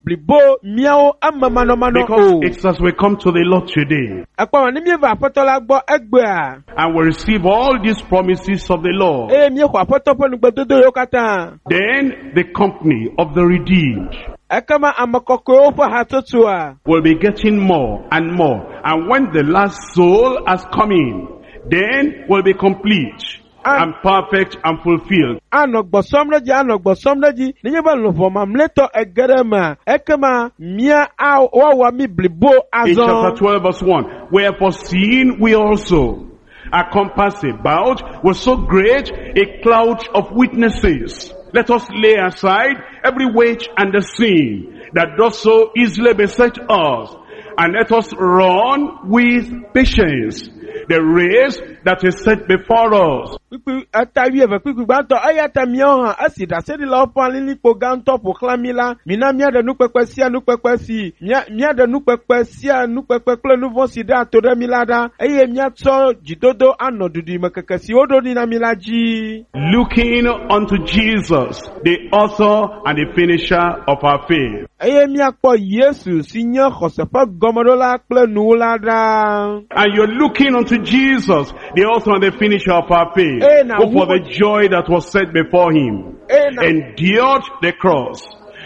Blibo míawo eme manɔmanɔ Because o. It's as we come to the Lord today Ekpɔ ma ne míeva Aƒetɔ la gbɔ egbea and we receive all these promises of the Lord, eye míexɔ Aƒetɔ ƒe nugbedodo yiwo katã, then the company of the redeemed ekema ame kɔkɔewo ƒe hatsotsoa will be getting more and more. And when the last soul has come in, then will be complete and perfect and fulfilled. Anɔ gbɔsɔm ɖe dzi, anɔ gbɔsɔm ɖe dzi nenye be luʋɔ mamlɛtɔ ege ɖe emea, ekema mía a woawɔ mí blibo In chapter azɔ. 12 verse 1, wherefore seeing we also are compassed about with so great a cloud of witnesses, let us lay aside every weight and the sin that does so easily beset us, and let us run with patience the race that is set before us. Kpukpui eta 12 kpukpui gbãtɔ eya ta míawo hã esi ɖaseɖilawo ƒe alilikpo gãtɔ ƒo xlã mí la, mina míaɖe nukpekpe sia nukpekpe si mía míaɖe nukpekpe sia nukpekpe kple nu vɔ̃ si ɖea to ɖe mí la ɖa eye míatsɔ dzidodo anɔ duɖimekeke si woɖo ɖi na mí la dzi. Looking unto Jesus, the author and the finisher of our faith. Eye míakpɔ Yesu si nye xɔse ƒe gɔmeɖola kple nuwula ɖa. And you're looking unto Jesus, the author and the finisher of our faith, Eh, now who for who- the joy that was set before him Eye na endured the cross,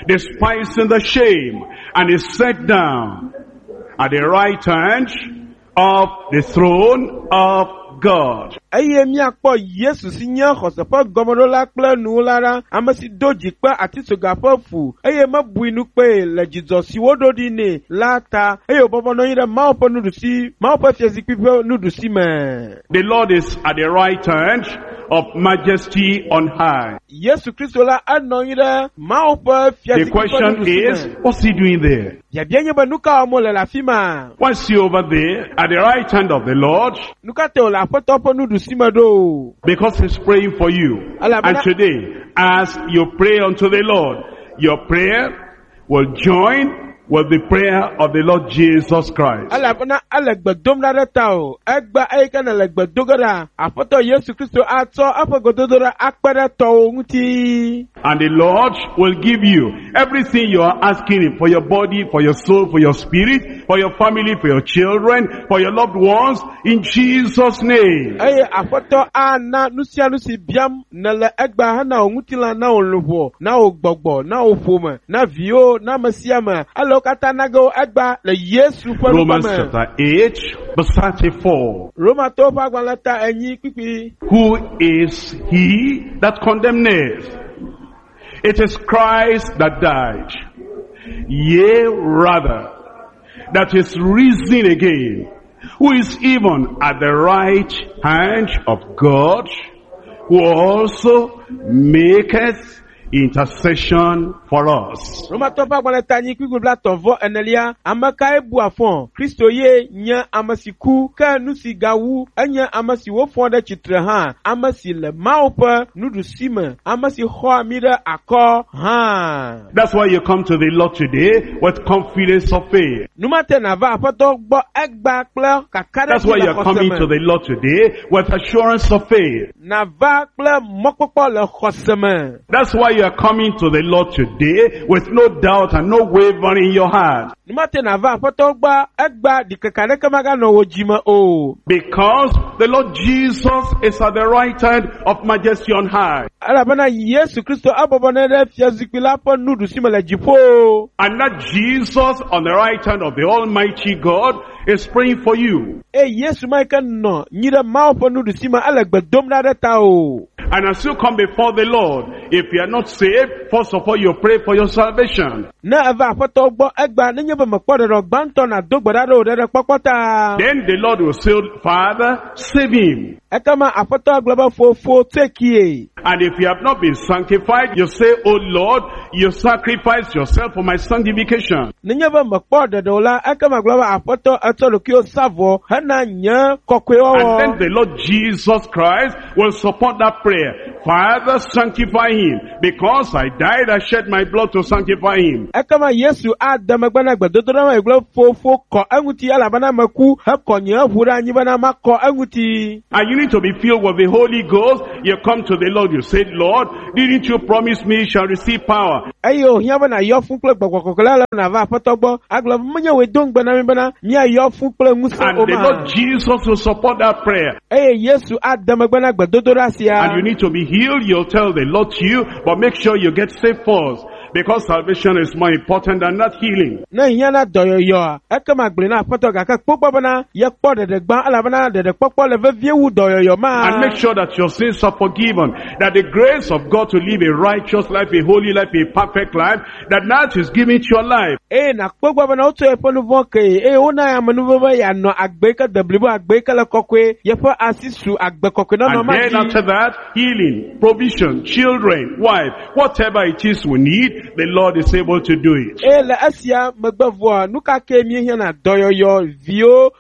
despising the shame, and is set down at the right hand of the throne of God. Eye míakpɔ Yesu si nye xɔse ƒe gɔmeɖola kple nuwula ɖa, ame si do dzi kpe atisoga ƒe fu eye mebui nu kpee le dzidzɔ si woɖo ɖi nɛ la ta eye wòbɔbɔ nɔ anyi ɖe Mawu ƒe nuɖusi Mawu ƒe fiazikpui ƒe nuɖusi me. The Lord is at the right hand of majesty on high. Yesu Kristo la enɔ anyi ɖe Mawu ƒe The fiazikpui ƒe question nuɖusi is, me. what's he doing there? Biabia nye be nu ka wɔm wòle le afi ma? Why is he over there at the right hand of the Lord? Nu ka ta wòle Aƒetɔ ƒe nuɖusi me ɖo? Because he's praying for you. And today, as you pray unto the Lord, your prayer will join with the prayer of the Lord Jesus Christ. Elabena ele gbe dom ɖa ɖe ta o. Egbe eyi ke nele gbe do ge ɖa, Aƒetɔ Yesu Kristo atsɔ eƒe gbedodoɖa akpe ɖe tɔwò ŋuti. And the Lord will give you everything you are asking him for your body, for your soul, for your spirit, for your family, for your children, for your loved ones, in Jesus' name. Eye Aƒetɔ ana nu sia nu si biam nele egbea hena wò ŋutilã, na wò luʋɔ, na wò gbɔgbɔ, na wò ƒome, na viwo, na ame sia ame. Ele wo katã na ge wo egbea le Yesu ƒe Romans ŋkɔ me. Chapter 8, verse 34. Romatɔwo ƒe agbalẽ ta 4 kpukpui. Who is he that condemneth? It is Christ that died. Yea, rather, that is risen again, who is even at the right hand of God, who also maketh intercession for us. Romatɔ ƒe agbalẽ ta 4 kpukpui 34. Ame kae bua fɔ? Kristo ye nye ame si ku, ke nu si gawu enye ame si wofɔ ɖe tsitre hã, ame si le Mawu ƒe nuɖusi me, ame si xɔa mí ɖe akɔ hã. That's why you come to the Lord today with confidence of faith. Numate nava Aƒetɔ gbɔ egbea kple That's why kakaɖedzi le you're coming xɔse to me. the Lord today with assurance of faith. Nava kple mɔkpɔkpɔ le xɔse me. That's why you are coming to the Lord today with no doubt and no wavering in your heart. Numate nava Aƒetɔ gbɔ egbea ɖikeke aɖeke maganɔ wò dzime o. Because the Lord Jesus is at the right hand of majesty on high. Elabena Yesu Kristo ebɔbɔ nɔ ɖe fiazikpui la ƒe nuɖusi me le dziƒo. And that Jesus on the right hand of the Almighty God is praying for you. Eye Yesu ma yi ke nɔ nyi ɖe Mawu ƒe nuɖusi me ele gbe dom ɖa ɖe ta o. And as you come before the Lord, if you are not saved, first of all you pray for your salvation. Ne eva Aƒetɔ gbɔ egbea nenye be mekpɔ ɖeɖe gbãtɔ nàdo gbe ɖa ɖe wò ɖeɖekpɔkpɔ ta. Then the Lord will say, "Father, save him." Ekema Aƒetɔ gblɔ be fofo tsoe kie. And if you have not been sanctified, you say, "Oh Lord, you sacrifice yourself for my sanctification." Nenye be mekpɔ ɖeɖe o la, ekema gblɔ be Aƒetɔ etsɔ ɖokuiwo sa vɔ hena nye And kɔkɔewɔwɔ. then the Lord Jesus Christ will support that prayer. prayer. Father, sanctify him. Because I died, I shed my blood to sanctify him. Ekema Yesu ade megbe na gbedodoɖa ma gblɔ fofo kɔ eŋuti elabena meku hekɔ nye ʋu ɖe anyi bena makɔ eŋuti. And you need to be filled with the Holy Ghost. You come to the Lord, you say, Lord, didn't you promise me you shall receive power? Eye wòhiã be nàyɔ fũ kple gbɔgbɔ kɔkɔe la le nàva aƒetɔ gbɔ agblɔ be menye wòe do ŋugbe na mi bena míayɔ fũ kple ŋusẽ And o the ma. Lord Jesus will support that prayer. Eye Yesu ade megbe na gbedodoɖa sia. And you need to be healed, you'll tell the Lord to you, but make sure you get saved first. Because salvation is more important than that healing. Ne hiã na dɔyɔyɔa, ekema gblɔe na aƒetɔ gake kpɔ bena yekpɔ ɖeɖe gbã elabena ɖeɖekpɔkpɔ le vevie wu dɔyɔyɔ ma. And make sure that your sins are forgiven. That the grace of God to live a righteous life, a holy life, a perfect life, that that is given to your life. Eye nàkpɔ gbɔ bena wotsɔ yeƒe nu vɔ̃ kee eye wona amenuveve yeanɔ agbe yi ke de blibo, agbe yi ke le kɔkɔe, yeƒe asi su agbe kɔkɔe nɔnɔ And ma then dzi. after that, healing, provision, children, wife, whatever it is we need, the Lord is able to do it. Eye le esia megbe vɔa, nu ka ke míehiã na dɔyɔyɔ, viwo,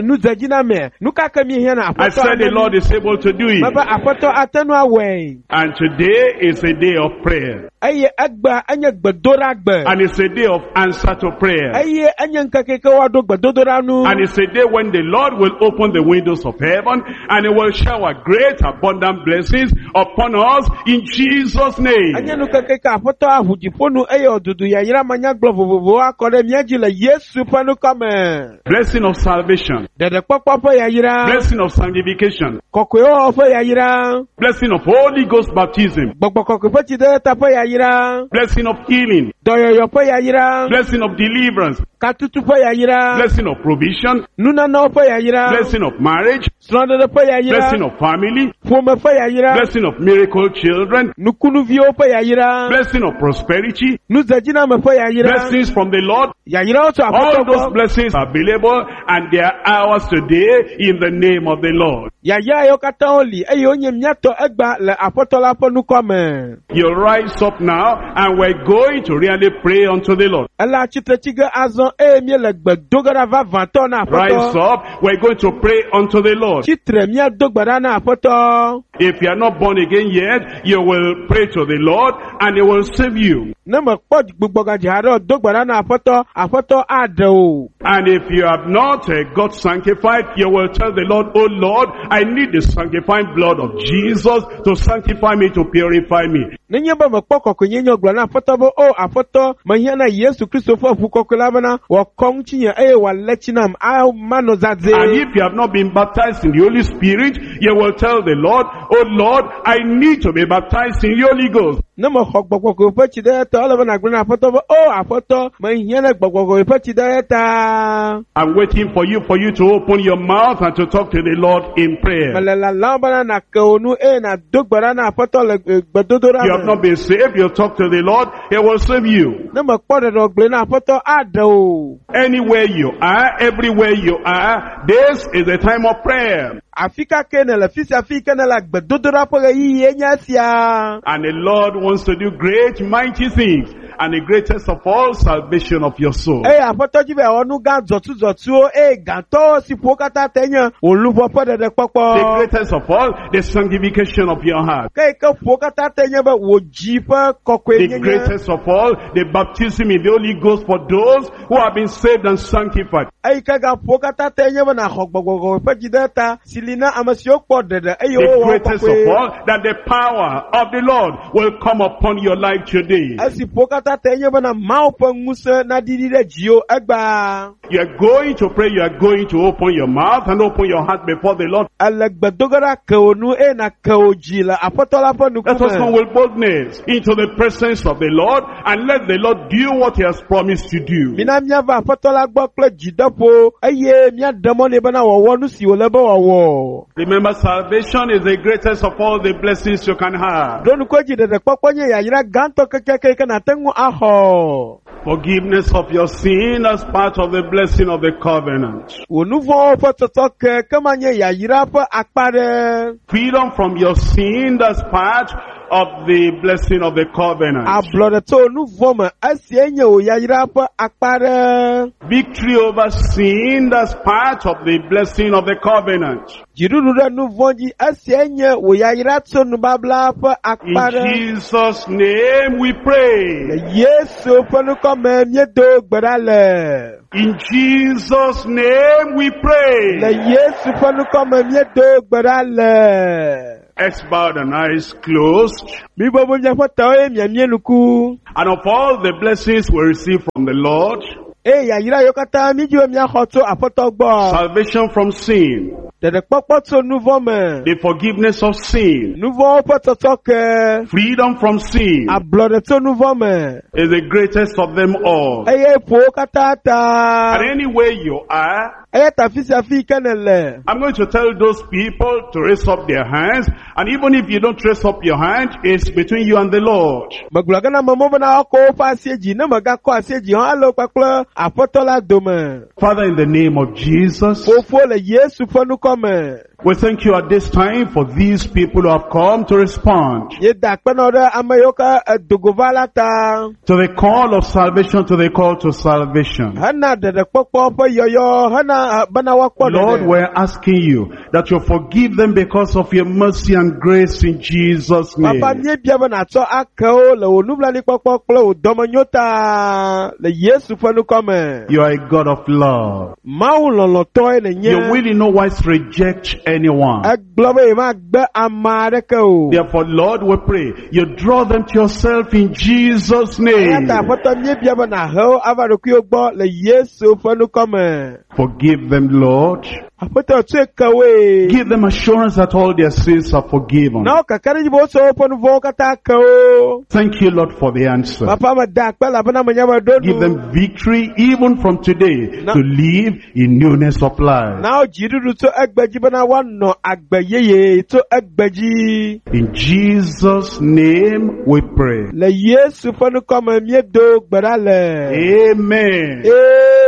nudzedziname, nu ka ke míehiã na I aƒetɔ said the ate Lord is able to do it. mebe aƒetɔ ate ŋu awɔe. And today is a day of prayer. Eye egbea enye gbedoɖagbe. And it's a day of answer to prayer. Eye enye ŋkeke yi ke woaɖo gbedodoɖa nu. And it's a day when the Lord will open the windows of heaven and he will shower great abundant blessings upon us in Jesus' Enye name. nukeke ke aƒetɔ aʋu dziƒo nu eye wòdudu yayra manyagblɔ vovovowo akɔ ɖe mía dzi le Yesu ƒe ŋkɔ me. Blessing of salvation, Ɖeɖekpɔkpɔ ƒe yayra, blessing of sanctification, kɔkɔewɔwɔ ƒe yayra, blessing of Holy Ghost baptism, gbɔgbɔ kɔkɔe ƒe tsideta ƒe yayra, blessing of healing, dɔyɔyɔ ƒe yayra, blessing of deliverance, katutu ƒe yayra, blessing of provision, nunanawo ƒe yayra, blessing of marriage, srɔ̃ɖeɖe ƒe yayra, blessing of family, ƒome ƒe yayra, blessing of miracle children, nukunuviwo ƒe yayra, blessing of prosperity, nudzedziname ƒe yayra, blessings from the Lord. yayrawo tso All aƒetɔ those gbɔ. blessings are available and they are ours today in the name of the Lord. Yayra yiwo katã woli eye wonye míatɔ egba le aƒetɔ la ƒe ŋkɔ me. You rise up now and we're going to really pray unto the Lord. Ele atsitre tsi ge azɔ eye míele gbe do ge ɖa vavãtɔ na Rise aƒetɔ. up, we're going to pray unto the Lord. Tsitre míado gbe ɖa na aƒetɔ. If you are not born again yet, you will pray to the Lord and he will save you. Ne mekpɔ gbugbɔgadzi haɖe o, do gbe ɖa na aƒetɔ, aƒetɔ aɖe o. And if you have not got sanctified, you will tell the Lord, Oh Lord, I need the sanctifying blood of Jesus to sanctify me, to purify me. Nenye be mekpɔ kɔkɔenyenye o, gblɔ na aƒetɔ be, o aƒetɔ, mehiã na Yesu Kristo ƒe ʋu kɔkɔe la bena wòakɔ ŋutinye eye wòalé tsi nam, manɔ zazɛ̃. And if you have not been baptized in the Holy Spirit, you will tell the Lord, Oh Lord, I need to be baptized in the Holy Ghost. Ne mexɔ gbɔgbɔ kɔkɔe ƒe tsi ɖe ta, ele be nàgblɔ na aƒetɔ be, o aƒetɔ, mehiã na gbɔgbɔ kɔkɔe ƒe tsi ɖe ta. I'm waiting for you to open your mouth and to talk to the Lord in prayer. Mele lalam bena nàke wò nu eye nàdo gbe ɖa na aƒetɔ le gbedodoɖa You have me. not been saved, you talk to the Lord, He will save you. Ne mekpɔ ɖeɖe o, gblɔe na aƒetɔ aɖe o. Anywhere you are, everywhere you are, this is the time of prayer. Afi ka ke nèle, fi sia fi ke nèle, gbedodoɖa ƒe ɣeyiɣie nye esia. And the Lord wants to do great, mighty things. And the greatest of all, salvation of your soul. Eye aƒetɔ dzi be yeawɔ nu gã dzɔtsudzɔtsuwo eye gãtɔwo si ƒo wo katã te nye wò luʋɔ ƒe ɖeɖekpɔkpɔ. The greatest of all, the sanctification of your heart. Ke yi ke ƒo wo katã te nye be wò dzi ƒe kɔkɔe The nyenye. greatest of all, the baptism in the Holy Ghost for those who have been saved and sanctified. Eyi ke gã ƒo wo katã te nye be nàxɔ gbɔgbɔ ƒe dzi ɖe ta si li na ame siwo kpɔ ɖeɖe eye The wowɔ greatest kɔkɔe. of all, that the power of the Lord will come upon your life today. Esi ƒo wo katã te nye bena Mawu ƒe ŋusẽ naɖiɖi ɖe dziwò egbea. You are going to pray, you are going to open your mouth and open your heart before the Lord. Ele gbedoge ɖa ke wò nu eye nàke wò dzi le aƒetɔ la ƒe Let us come ŋkume. with boldness into the presence of the Lord and let the Lord do what he has promised to do. Mina míava aƒetɔ la gbɔ kple dzideƒo eye míaɖe mɔ nɛ bena wòawɔ nu si wòle be wòawɔ. Remember, salvation is the greatest of all the blessings you can have. Ɖo ŋku edzi ɖeɖekpɔkpɔ nye yayra gãtɔ kekeake yi ke nàte ŋu axɔ. Forgiveness of your sin as part of the blessing of the covenant. Wò nu vɔ̃wo ƒe tsɔtsɔke ke ma nye yayra ƒe akpa ɖe. Freedom from your sin as part of the blessing of the covenant. Ablɔɖe tso nu vɔ̃ me esie nye wò yayra ƒe akpa ɖe. Victory over sin, that's part of the blessing of the covenant. Dziɖuɖu ɖe nu vɔ̃ dzi esie nye wò yayra tso nubabla ƒe In akpa ɖe. Jesus' name we pray. Le Yesu ƒe ŋkɔ me míedo gbe ɖa le. In Jesus' name we Le pray. Yesu ƒe ŋkɔ me míedo gbe ɖa le. Heads bowed and eyes closed. Mibɔbɔ miaƒe tawo eye miamie nuku. And of all the blessings we receive from the Lord, Eye yayra yiwo katã mídzi be míaxɔ tso Aƒetɔ gbɔ. salvation from sin, Ɖeɖekpɔkpɔ tso nu vɔ̃ me. the forgiveness of sin, Nu vɔ̃wo ƒe tsɔtsɔke. freedom from sin Ablɔɖe tso nu vɔ̃ me. is the greatest of them all. Eye ƒo wo katã ta. And anywhere you are, Eya ta afi sia afi yi ke nèle. I'm going to tell those people to raise up their hands. And even if you don't raise up your hand, it's between you and the Lord. Megblɔ ge na amewo bena woakɔ woƒe asie dzi. Ne mègakɔ asie dzi hã, ele wo kpakple Aƒetɔ la dome. Father, in the name of Jesus, Fofo le Yesu ƒe ŋkɔ me. we thank you at this time for these people who have come to respond Míeda akpe na wo ɖe ame yiwo ke edogo va la ta. to the call of salvation, to the call to salvation. Hena ɖeɖekpɔkpɔ ƒe yɔyɔ, hena bena woakpɔ Lord, ɖeɖe. we're asking you that you forgive them because of your mercy and grace in Jesus' name. Papa míebia be nàtsɔ ake wo le wò nublanuikpɔkpɔ kple wò dɔmenyo ta le Yesu ƒe ŋkɔ me. You are a God of love. Mawu lɔlɔ̃tɔe nènye. You will in no wise reject anyone. Egblɔ be yemagbe ame aɖeke o. Therefore, Lord, we pray you draw them to yourself in Jesus' Eya name. ta Aƒetɔ míebia be nàhe wo ava ɖokuiwo gbɔ le Yesu ƒe ŋkɔ me. Forgive them, Lord. Aƒetɔ tsɔe ke woe. Give them assurance that all their sins are forgiven. Na wo kakaɖedzi be wotsɔ woƒe nu vɔ̃wo katã ke wo. Thank you, Lord, for the answer. Papa meda akpe elabena menya be ɖo Give nu. them victory even from today No. to live in newness of life. Na wo dziɖuɖu tso egbe dzi bena woanɔ agbe yeye tso egbe dzi. In Jesus' name we pray. Le Yesu ƒe ŋkɔ me míedo gbe ɖa le. Amen.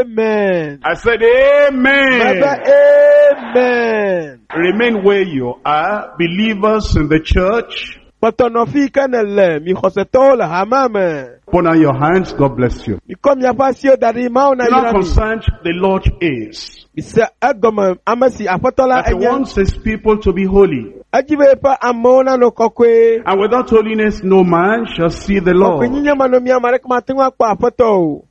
Amen. I said Mebe amen. amen. Remain where you are, believers in the church. Kpɔtɔ nɔ fi yi ke nèle, mi xɔsetɔwo le hamea me. Put on your hands, God bless you. Mikɔ miaƒe asiwo da ɖi, Mawu You nayra know mi. how concerned the Lord is. Mise egɔme ame si Aƒetɔ la That he enye. wants his people to be holy. Edzi be eƒe amewo nanɔ kɔkɔe. And without holiness, no man shall see the Lord. Kɔkɔenyenye manɔ mía ame aɖeke mate ŋu akpɔ Aƒetɔ o.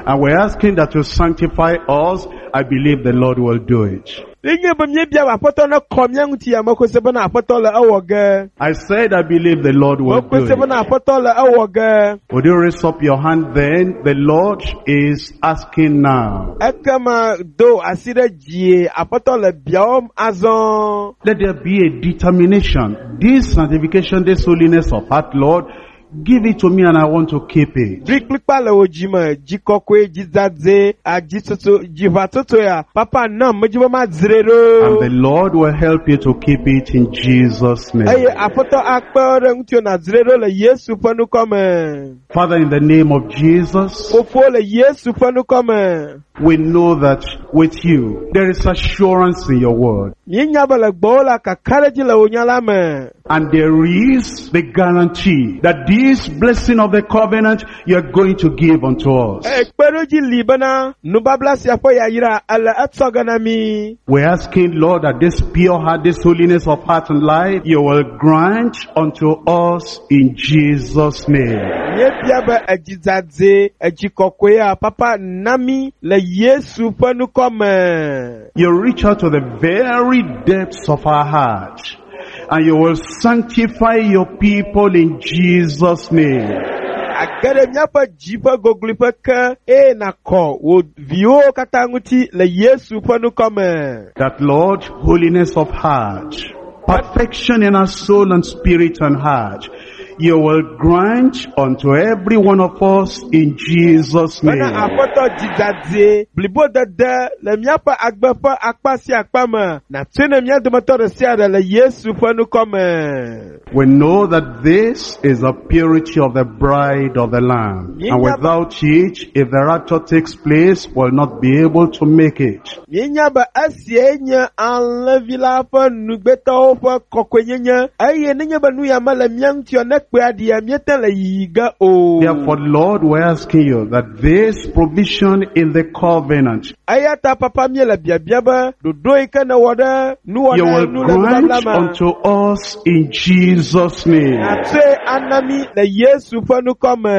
And we're asking that you sanctify us. I believe the Lord will do it. Nenye be míebia be Aƒetɔ nekɔ mía ŋuti ya, mexɔe se bena Aƒetɔ le ewɔ ge. I said I believe the Lord will do Mexɔe se it. bena Aƒetɔ le ewɔ ge. Would you raise up your hand then? The Lord is asking now. Ekema do asi ɖe dzie, Aƒetɔ le biawɔm azɔ. Let there be a determination. This sanctification, this holiness of heart, Lord, give it to me and I want to keep it. Ɖoe kplikpa le wò dzime, dzi kɔkɔe, dzi dzadzɛ, adzitsotso, dziʋatsotso ya. Papa nam, medzi be madzrae And the ɖo. Lord will help you to keep it in Jesus' name. Eye Aƒetɔ akpe ɖe ŋutiwò nàdzrae ɖo le Yesu ƒe ŋkɔ me. Father, in the name of Jesus, Fofo le Yesu ƒe ŋkɔ me. we know that with you, there is assurance in your word. Míenya be le gbɔwò la, kakaɖedzi le wò nya la me. And there is the guarantee that this blessing of the covenant you are going to give unto us. Eye kpeɖodzi li bena nubabla sia ƒe yayra ele etsɔ ge na mí. We're asking, Lord, that this pure heart, this holiness of heart and life, you will grant unto us in Jesus' name. Míebia be edzi dzadzɛ, edzi kɔkɔea, papa na mí le Yesu ƒe ŋkɔ me. You reach out to the very depths of our heart and you will sanctify your people in Jesus' name. Age ɖe míaƒe dzi ƒe gogloƒe ke eye nàkɔ wò viwo katã ŋuti le Yesu ƒe ŋkɔ me. That, Lord, holiness of heart, perfection in our soul and spirit and heart, you will grant unto every one of us in Jesus' Bena name. aƒetɔ dzidzadze blibodede le míaƒe agbe ƒe akpa sia akpa me nàtsoe ne mía dometɔ ɖe sia ɖe le Yesu ƒe ŋkɔ me. We know that this is the purity of the bride of the Lamb. And without it, if the rapture takes place, we'll not be able to make it. Míenya be esie nye alẽvi la ƒe nugbetɔwo ƒe kɔkɔenyenye eye nenye be nu ya mele mía ŋuti o ne kpea ɖia míete le yiyi ge o. Therefore, Lord, we're asking you that this provision in the covenant, Eya ta papa míele biabia be ɖoɖo yi ke nèwɔ ɖe you nuwɔna will nu le nubabla grant me. unto us in Jesus' name. Nàtsɔe ana mí le Yesu ƒe ŋkɔ me.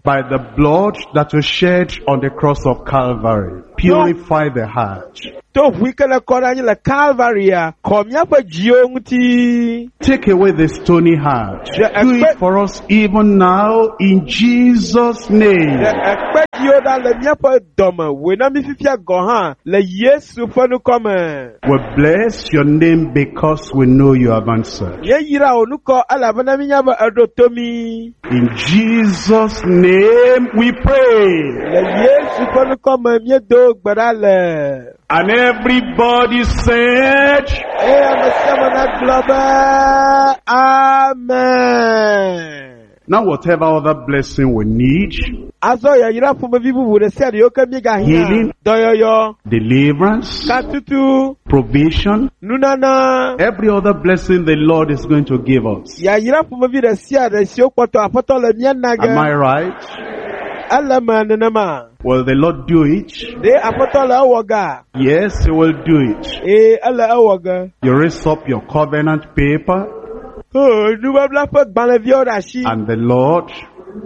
By the blood that was shed on the cross of Calvary, purify the heart. To ʋu yi ke le kɔ ɖe anyi le Kalvaria, kɔ míaƒe dziwo ŋuti. Take away the stony heart. Do it for us even now in Jesus' name. Ɖe ekpe dziwo ɖa le míaƒe dɔme, wòe na mí fifia gɔ̃ hã le Yesu ƒe ŋkɔ me. We bless your name because we know you have answered. Míeyra wò ŋkɔ elabena míenya be eɖo to mí. In Jesus' name we pray. Le Yesu ƒe ŋkɔ me míedo gbe ɖa le. And everybody said, Eye ame sia ame nagblɔ be amen. now whatever other blessing we need, Azɔ yayra ƒomevi bubu ɖe sia ɖe yiwo ke míegahiã. Healing. Dɔyɔyɔ, deliverance, katutu, provision, nunana. every other blessing the Lord is going to give us. Yayra ƒomevi ɖe sia ɖe siwo kpɔtɔ aƒetɔ le mía na Am I ge. right? Ele me nenema. Will the Lord do it? Ɖe aƒetɔ le ewɔ ga? Yes, He will do it. Ee, ele ewɔ ge. You raise up your covenant paper Oh, nubabla ƒe gbalẽviawo ɖe asi. and the Lord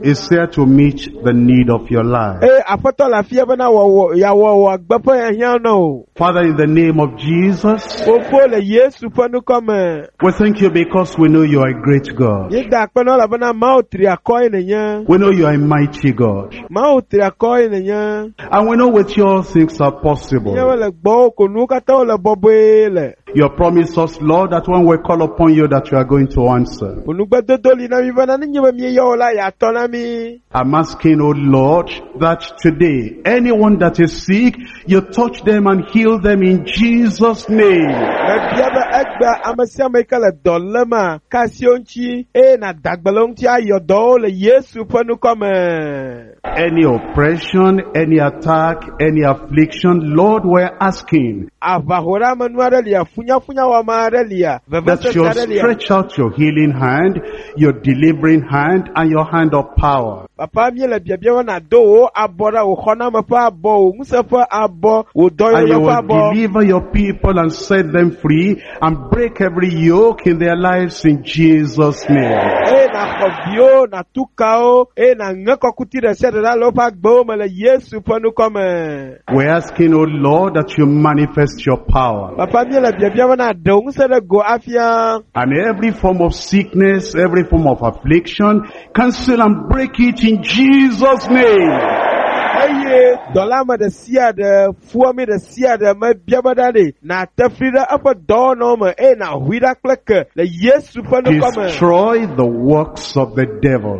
is here to meet the need of your life. Eye aƒetɔ le afia bena wɔwɔ yeawɔ wò agbe ƒe hiahiã na wò. Father, in the name of Jesus, Fofo le Yesu ƒe ŋkɔ me. we thank you because we know you are a great God. Míeda akpe na wò elabena Mawu tri akɔ ye nènye. We know you are a mighty God. Mawu tri akɔ ye nènye. And we know with you all things are possible. Míawo le gbɔwò ko nuwo katã wole bɔbɔe le. You promise us, Lord, that when we call upon you that you are going to answer. Wò nugbedodo li na mí bena nenye be míeyɔ wò la, yeatɔ na mí. I'm asking, O Lord, that today, anyone that is sick, you touch them and heal them in Jesus' name. Mebia be egbea ame sia ame yi ke le dɔ léma, ka asi wo ŋuti eye nàda gbe le wo ŋuti ayɔ dɔwo le Yesu ƒe ŋkɔ me. Any oppression, any attack, any affliction, Lord, we're asking Aʋahoɖeamenu aɖe lia, funyafunyawɔame aɖe lia, that vevesese you aɖe lia. stretch out your healing hand, your delivering hand, and your hand of power. Papa míele biabia be nàdo wò abɔ ɖa, wò xɔname ƒe abɔ, wò ŋusẽ ƒe abɔ, wò And dɔyɔyɔ you ƒe will abɔ. deliver your people and set them free and break every yoke in their lives in Jesus' name. Eye nàxɔ viwo, nàtu kawo, eye nàŋe kɔkuti ɖe sia ɖe ɖa le woƒe agbewo me le Yesu ƒe ŋkɔ me. We're asking, O Lord, that you manifest your power. Papa míele biabia be nàɖe wò ŋusẽ ɖe go afia. And every form of sickness, every form of affliction, cancel and break it in Jesus' name. Eye dɔlame ɖe sia ɖe, fuwɔame ɖe sia ɖe mebia be ɖa ɖe, nàte fli ɖe eƒe dɔwɔnawo me eye nàhui ɖa kple ke le Yesu ƒe ŋkɔ me. Destroy the works of the devil.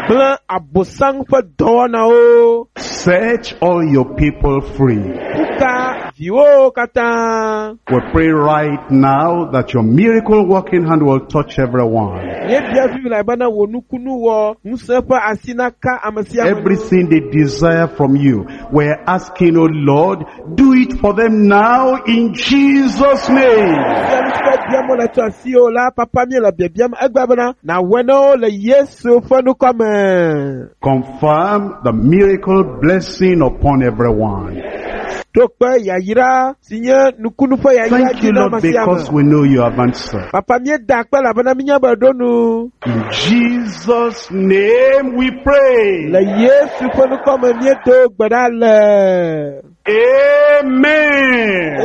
Gblẽ Abosam ƒe dɔwɔnawo. Set all your people free. Kuka viwo katã. We pray right now that your miracle working hand will touch everyone. Míebia fifi le bena wò nukunu wɔ ŋusẽ ƒe asi naka ame sia ame. Everything they desire from you, we're asking, oh Lord, do it for them now in Jesus' name. Fia nu si ke biam wole tso asiwò la, papa míele biabiam egbea bena nàwɔe na wo le Yesu ƒe ŋkɔ me. Confirm the miracle blessing upon everyone. Ɖo kpe yayra si nye nukunu ƒe yayra Thank dzi you, na Lord, ame sia because ame. we know you have answered. Papa míeda akpe elabena míenya be ɖo nu. In Jesus' name we pray. Le Yesu ƒe ŋkɔ me míedo gbe ɖa le. Amen.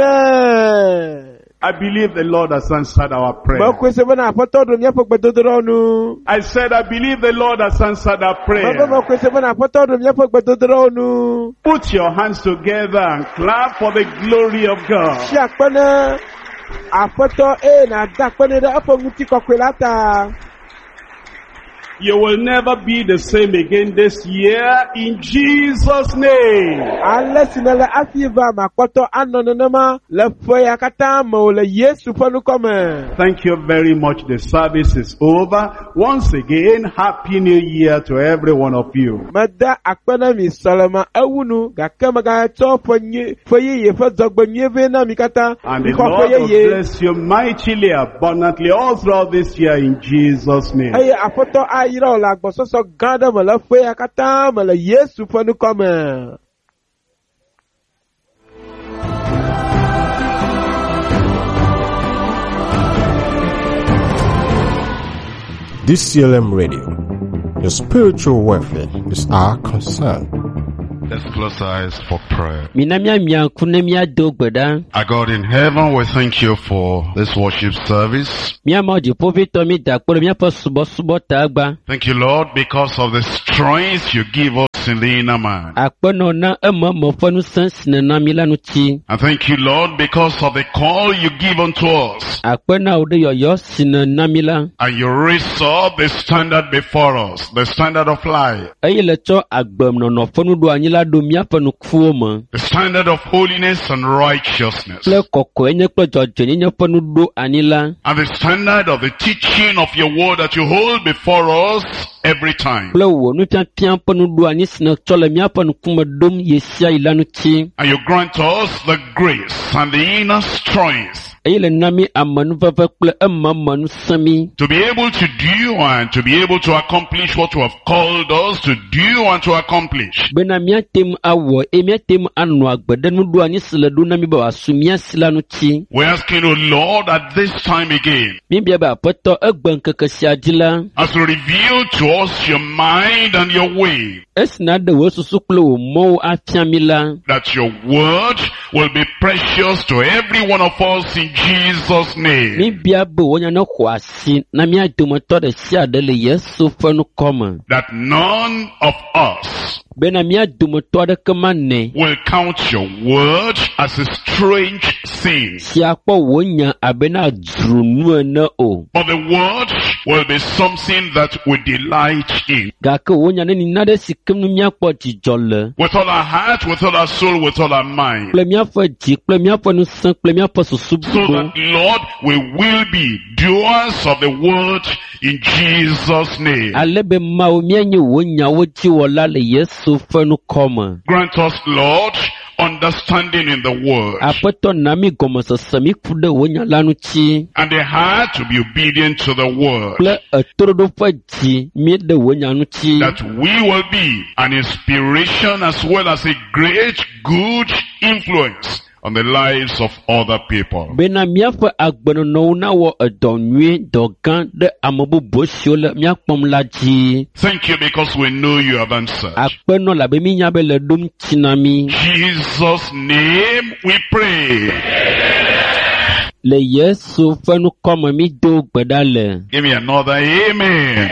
Amen. I believe the Lord has answered our prayer. Mekɔe se bena Aƒetɔ ɖo míaƒe gbedodoɖawo nu. I said, I believe the Lord has answered our Mebe prayer. mekɔe se bena Aƒetɔ ɖo míaƒe gbedodoɖawo nu. Put your hands together and clap for the glory of God. Tsi akpe ne Aƒetɔ eye nàda akpe nɛ ɖe eƒe ŋutikɔkɔe la ta. You will never be the same again this year in Jesus' name. Ale si nele hafi va makpɔtɔ anɔ nenema le ƒe ya katã me o le Yesu ƒe ŋkɔ me. Thank you very much. The service is over. Once again, Happy New Year to every one of you. Meda akpe na mi sɔleme ewu nu gake megatsɔ ƒe nyui ƒe yeye ƒe dzɔgbe nyui vɛ na mi katã. And the Mixɔ ƒe Lord will yeye. bless you mightily, abundantly, all throughout this year in Jesus' name. Eye Aƒetɔ ayra wò le agbɔsɔsɔ gã aɖe me le ƒe ya katã me le Yesu ƒe ŋkɔ me. DCLM Radio. Your spiritual welfare is our concern. Let's close our eyes for prayer. Mina míamia ŋku ne míado gbe ɖa. Our God in heaven, we thank you for this worship service. Mía Mawu dziƒoʋĩtɔ mí da akpe ɖe míaƒe subɔsubɔ ta gba. Thank you, Lord, because of the strength you give us in the inner man. Akpenɔ na ememe ƒe ŋusẽ si nèna mí la ŋuti. And thank you, Lord, because of the call you give unto us. Akpe na wò ɖe yɔyɔ si nèna mí la. And you raise up the standard before us, the standard of life, Eye le tsɔ agbenɔnɔ ƒe nuɖoanyi la ɖo míaƒe ŋkuwo me. the standard of holiness and righteousness, Kple kɔkɔenye kple dzɔdzɔenyenye ƒe nuɖoanyi la. and the standard of the teaching of your word that you hold before us every time. Kple wò nufiafia ƒe nuɖoanyi si nètsɔ le míaƒe ŋkume ɖom ɣe sia ɣi la ŋuti. And you grant us the grace and the inner strength Eye le na mí amenuveve kple ememe ŋusẽ mí. to be able to do and to be able to accomplish what you have called us to do and to accomplish. Bena míate ŋu awɔ eye míate ŋu anɔ agbe ɖe nuɖoanyi si le ɖo na mí be wòasu mía si la ŋuti. We're asking, O Lord, at this time again, Míebia be Aƒetɔ egbe ŋkeke sia dzi la, as you reveal to us your mind and your way, esi nàɖe wò susu kple wò mɔwo afia mí la, that your word will be precious to every one of us in Jesus' name. míebia be wò nya nexɔ asi na mía dometɔ ɖe sia ɖe le Yesu ƒe ŋkɔ me. That none of us Bena mía dometɔ aɖeke manɛ will count your word as a strange thing, si akpɔ wò nya abe na dzro nu ene o. but the word will be something that we delight in. Gake wò nya neni naɖe si ke nu míakpɔ dzidzɔ le With all our heart, with all our soul, with all our mind. kple míaƒe dzi kple míaƒe ŋusẽ kple míaƒe susu So blibo. that, Lord, we will be doers of the word in Jesus' name. Ale be Mawu míanye wò nyawo dziwɔla le Yesu ƒe ŋkɔ me. Grant us, Lord, understanding in the word Aƒetɔ na mí gɔmesese mí ku ɖe wò nya la ŋuti and the heart to be obedient to the word. kple etoɖoɖo ƒe dzi mí ɖe wò nya ŋuti. That we will be an inspiration as well as a great good influence on the lives of other people. Bena míaƒe agbenɔnɔwo nawɔ edɔ nyui dɔ gã ɖe ame bubu siwo le mía kpɔm la dzi. Thank you because we know you have answered. Akpenɔ labe mínya be le ɖom tsi na mí. Jesus' name we pray. Le Yesu ƒe ŋkɔ me mído gbe ɖa le. Give me another amen.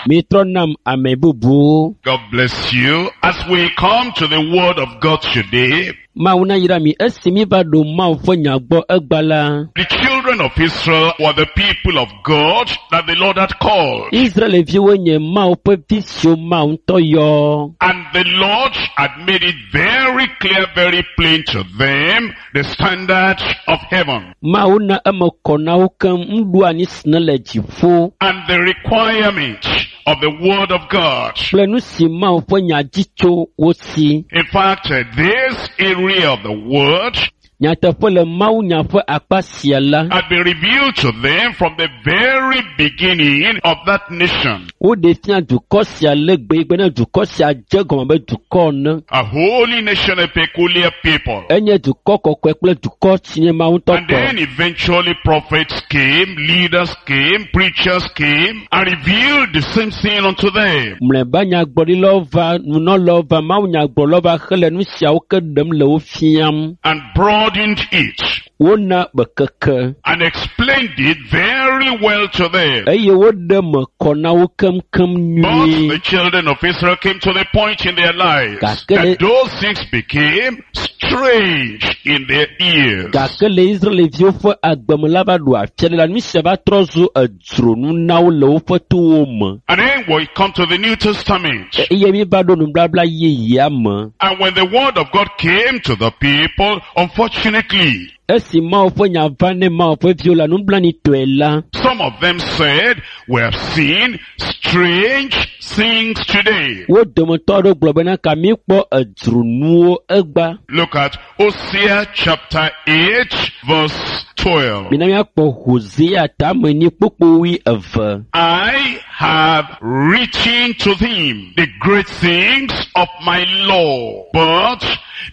Mitrɔ nam ame bubuwo. God bless you. As we come to the word of God today, Mawu nayra mi esi míva ɖo Mawu ƒe nya gbɔ egba la. the children of Israel were the people of God that the Lord had called. Israelviwo nye Mawu ƒe vi siwo Mawu ŋutɔ yɔ. And the Lord had made it very clear, very plain to them, the standard of heaven Mawu na eme kɔ na wo keŋ nuɖoanyi si ne le dziƒo and the requirement of the word of God. kple nu si Mawu ƒe nya dzi tso wo si. In fact, this area of the word Nyateƒe le Mawu nya ƒe akpa sia la, had been revealed to them from the very beginning of that nation. woɖe fia dukɔ sia le gbe ne dukɔ sia dze gɔme be dukɔ ene. A holy nation, a peculiar people. Enye dukɔ kɔkɔe kple dukɔ si nye Mawu ŋutɔ And then tɔ. eventually prophets came, leaders came, preachers came, and revealed the same thing unto them. Mlɔeba nyagblɔɖilawo va, nunɔlawo va, Mawu nyagblɔlawo va hele nu siawo ke ɖem le wo fiam And broadened it. Wona bekeke and explained it very well to them. eye woɖe me kɔ na wo keŋkeŋ But nyuie. the children of Israel came to the point in their lives Gake that le- those things became strange in their ears. Gake le Israelviwo ƒe agbeme la va ɖo afia ɖe la, nu sia va trɔ zu edzronu na wo le woƒe towo me. And then we come to the New Testament. Eye mi va ɖo nubabla yeyea me. And when the word of God came to the people, unfortunately, Esi Mawu ƒe nya va ne Mawu ƒe viwo la nublanuitɔe la, some of them said, we have seen strange things today. wo dometɔ aɖewo gblɔ bena ka mi kpɔ edzronuwo egba. Look at Hosea chapter 8 verse 12. Mina míakpɔ Hosea tame nyi kpukpui eve. I have written to them the great things of my law, but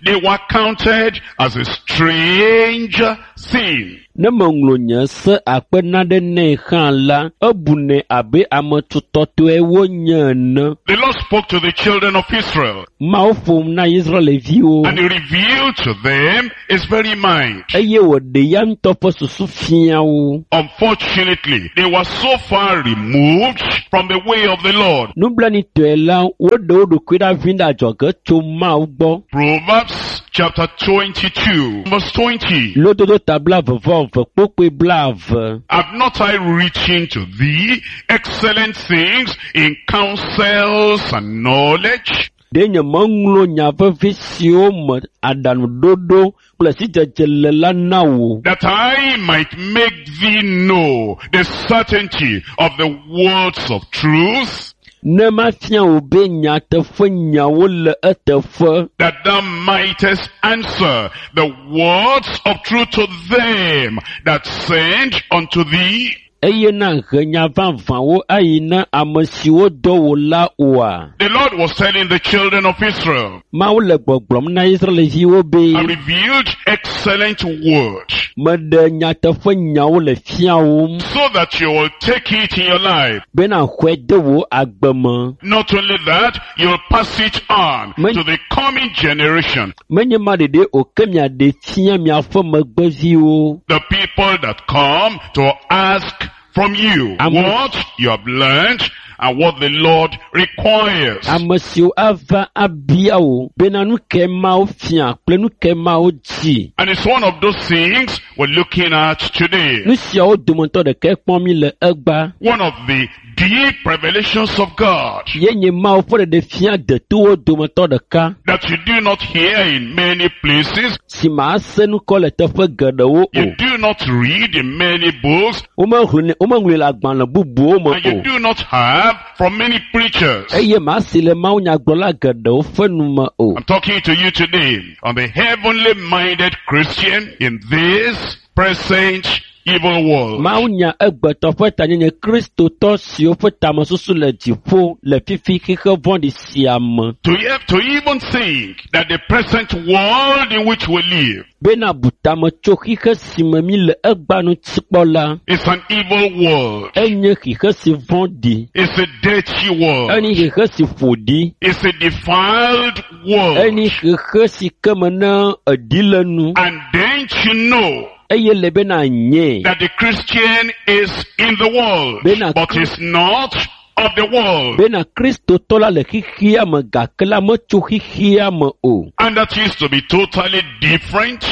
they were counted as a strange thing. Ne meŋlɔ nye se akpe naɖe nɛ hã la, ebunɛ abe ame tutɔtɔe wonye ene. The Lord spoke to the children of Israel Mawu ƒom na Israelviwo and he revealed to them his very mind. eye wòɖe ya ŋutɔ ƒe susu fia wo. Unfortunately, they were so far removed from the way of the Lord. Nublanuitɔe la, woɖe wo ɖokui ɖa vi ɖe adzɔge tso Mawu gbɔ. Proverbs chapter 22 verse 20. Lododo ta blaeve vɔ eve kpukpui blaeve. Have not I written to thee excellent things in counsels and knowledge? Ɖe nye meŋlɔ nya vevi siwo me aɖaŋuɖoɖo kple sidzedze le la na wò. That I might make thee know the certainty of the words of truth, Ne mafia wò be nyateƒe nyawo le eteƒe. that thou mightest answer the words of truth to them that send unto thee. Eye na he nya vavãwo ayi na ame siwo dɔ wò la oa? The Lord was telling the children of Israel, Mawu le gbɔgblɔm na Israelviwo be I revealed excellent word meɖe nyateƒe nyawo le fiawòm so that you will take it in your life. bena xɔe de wò agbe me. Not only that, you'll pass it on to the coming generation. Menye ma ɖeɖe o ke miaɖe fia miaƒe megbeviwo. The people that come to ask from you Amen. what you have learned and what the Lord requires. Ame siwo ava abia wò bena nu ke Mawu fia kple nu ke Mawu dzi. And it's one of those things we're looking at today. Nu siawo dometɔ ɖekae kpɔm mi le egba. One of the deep revelations of God Ye nye Mawu ƒe ɖeɖefia detowo dometɔ ɖeka that you do not hear in many places, si màse nukɔ le teƒe geɖewo o. you do not read in many books, Womeŋlɔe womeŋlɔe le agbalẽ bubuwo me and you o. do not have from many preachers. Eye màse le mawunyagblɔla geɖewo ƒe nu me o. I'm talking to you today on the heavenly minded Christian in this present evil world. Mawunya egbetɔ ƒe tanyenye kristotɔ siwo ƒe tamesusu le dziƒo le fifi xexe vɔ̃ɖi sia me. To, have to even think that the present world in which we live Bena bu tame tso xixe si me mi le egba ŋuti kpɔ la, is an evil world. enye xixe si vɔ̃ɖi, It's a dirty world. enye xixe si ƒo ɖi, It's a defiled world. enye xixe si ke me ne eɖi le nu And then you know eye le bena nye that the Christian is in the world, Bena- but is not of the world. bena kristotɔ la le xixia me gake la metso xixia me o. And that is to be totally different,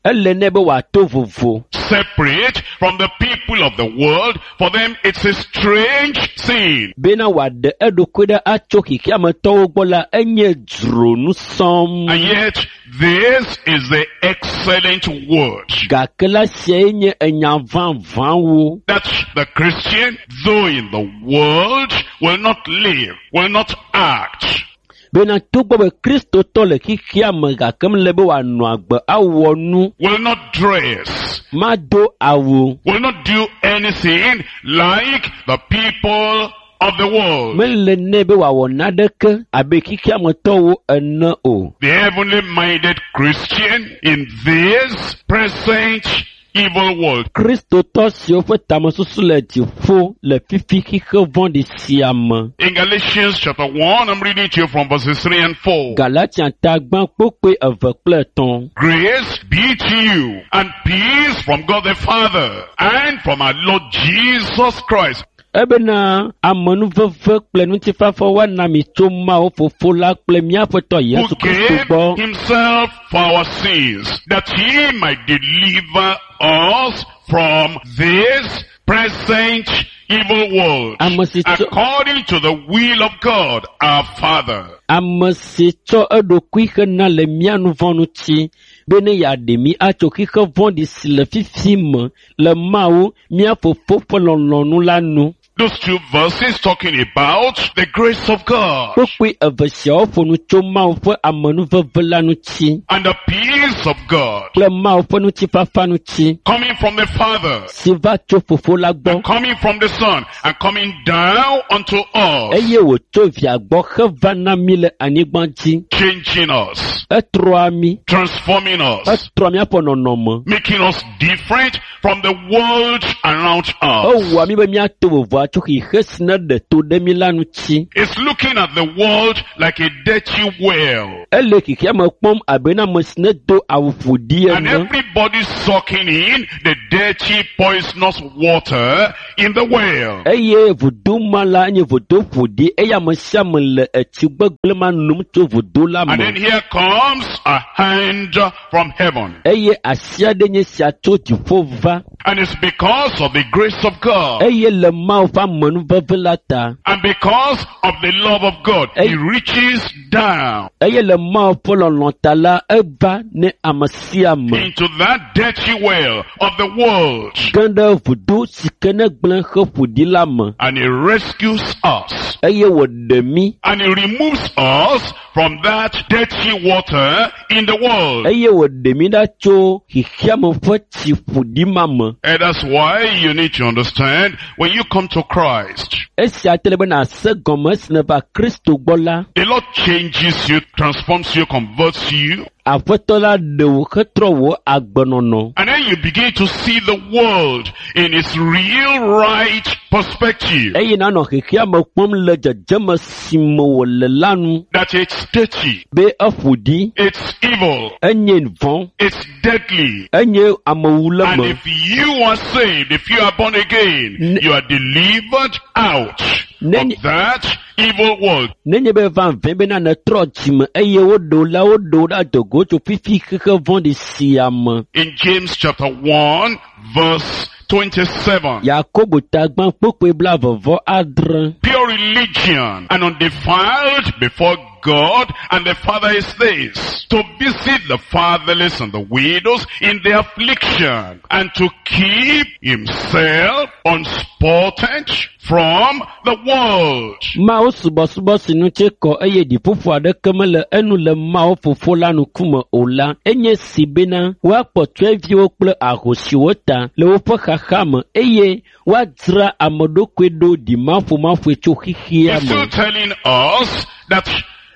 Ele nɛ be wòato vovo. separate from the people of the world. For them, it's a strange thing. Bena wòaɖe eɖokui ɖe atso xixiametɔwo gbɔ la, enye dzronu sɔm. And yet, this is the excellent word. Gake la siae nye enya vavãwo. That the Christian, though in the world, will not live, will not act, Bena togbɔ be kristotɔ le xixia me gake mele be wòanɔ agbe awɔ nu, will not dress, mado awu, will not do anything like the people of the world. mele nɛ be wòawɔ naneke abe xixiametɔwo ene o. The heavenly minded Christian in this present evil world. Kristotɔ siwo ƒe tamesusu le dziƒo le fifi xixe vɔ̃ɖi sia me. In Galatians chapter 1, I'm reading to you from verses 3 and 4. Galatia ta gbã kpokpoe eve kple etɔ̃. Grace be to you and peace from God the Father and from our Lord Jesus Christ. Ebena amenuveve kple ŋutifafa woana mi tso Mawu Fofo la kple mía Aƒetɔ Who Yesu Kristo gave gbɔ. himself for our sins, that he might deliver us from this present evil world, Ame si tso- according to the will of God our Father. Ame si tsɔ eɖokui hena le mía nu vɔ̃ ŋuti bene yeaɖe mí atso xixe vɔ̃ɖi si le fifi me le Mawu mía Fofo ƒe lɔlɔ̃nu la nu. Those two verses talking about the grace of God Kpokpoe eve siawo ƒo nu tso Mawu ƒe amenuveve la ŋuti and the peace of God kple Mawu ƒe ŋutifafa ŋuti coming from the Father si va tso Fofo la gbɔ coming from the Son and coming down unto us, eye wòtso via gbɔ heva na mí le anyigba dzi. changing us, Etrɔa mí, transforming us, etrɔa míaƒe nɔnɔme. making us different from the world around us. Ewɔa mí be míato vovo atso xixe si ne ɖe to ɖe mí la ŋuti. It's looking at the world like a dirty well. Ele xexea me kpɔm abe na ame si ne do awu ƒoɖi And ene everybody's sucking in the dirty, poisonous water in the well. eye vudo ma la nye vudo ƒoɖi eye ame sia ame le etsi gbegblẽ ma nom tso vudo la And then me. here comes a hand from heaven. Eye asi aɖe nye sia tso dziƒo va And it's because of the grace of God. eye le Mawu ƒe amenuveve la ta And because of the love of God, He reaches down eye le Mawu ƒe lɔlɔ̃ ta la eva ne ame sia ame into that dirty well of the world. ge ɖe vudo si ke ne gblẽ he ƒoɖi la me And He rescues us. eye wòɖe mí And He removes us from that dirty water in the world. eye wòɖe mí ɖa tso xexeame ƒe tsi ƒoɖi ma me. And that's why you need to understand when you come to Christ, Esia te le be nàse gɔme esi nèva Kristo gbɔ la, the Lord changes you, transforms you, converts you, Aƒetɔ la ɖe wò hetrɔ wò agbenɔnɔ. and then you begin to see the world in its real right perspective. Eye nànɔ xexeame kpɔm le dzedzeme si me wòle la nu That it's dirty, be eƒo ɖi, it's evil, enye vɔ̃, it's deadly. enye amewuleme. And if you are saved, if you are born again, you are delivered out of that evil world. Nenye be vavã bena nètrɔ dzime eye woɖe wò la, woɖe wò ɖe adogo tso fifi xexe vɔ̃ɖi sia me. In James chapter 1 verse 27. Yakobo ta gbã kpokpoe blaeve vɔ adre. Pure religion and undefiled before God and the Father is this, to visit the fatherless and the widows in their affliction and to keep himself unspotted from the world. Mawu subɔsubɔ si ŋuti kɔ eye ɖiƒoƒo aɖeke mele enu le Mawu Fofo la ŋkume o la, enye si bena woakpɔ tsyɔ̃eviwo kple ahosiwo ta le woƒe xaxa me eye woadzra ame ɖokui ɖo ɖimaƒomaƒoe tso xexea He's still me. telling us that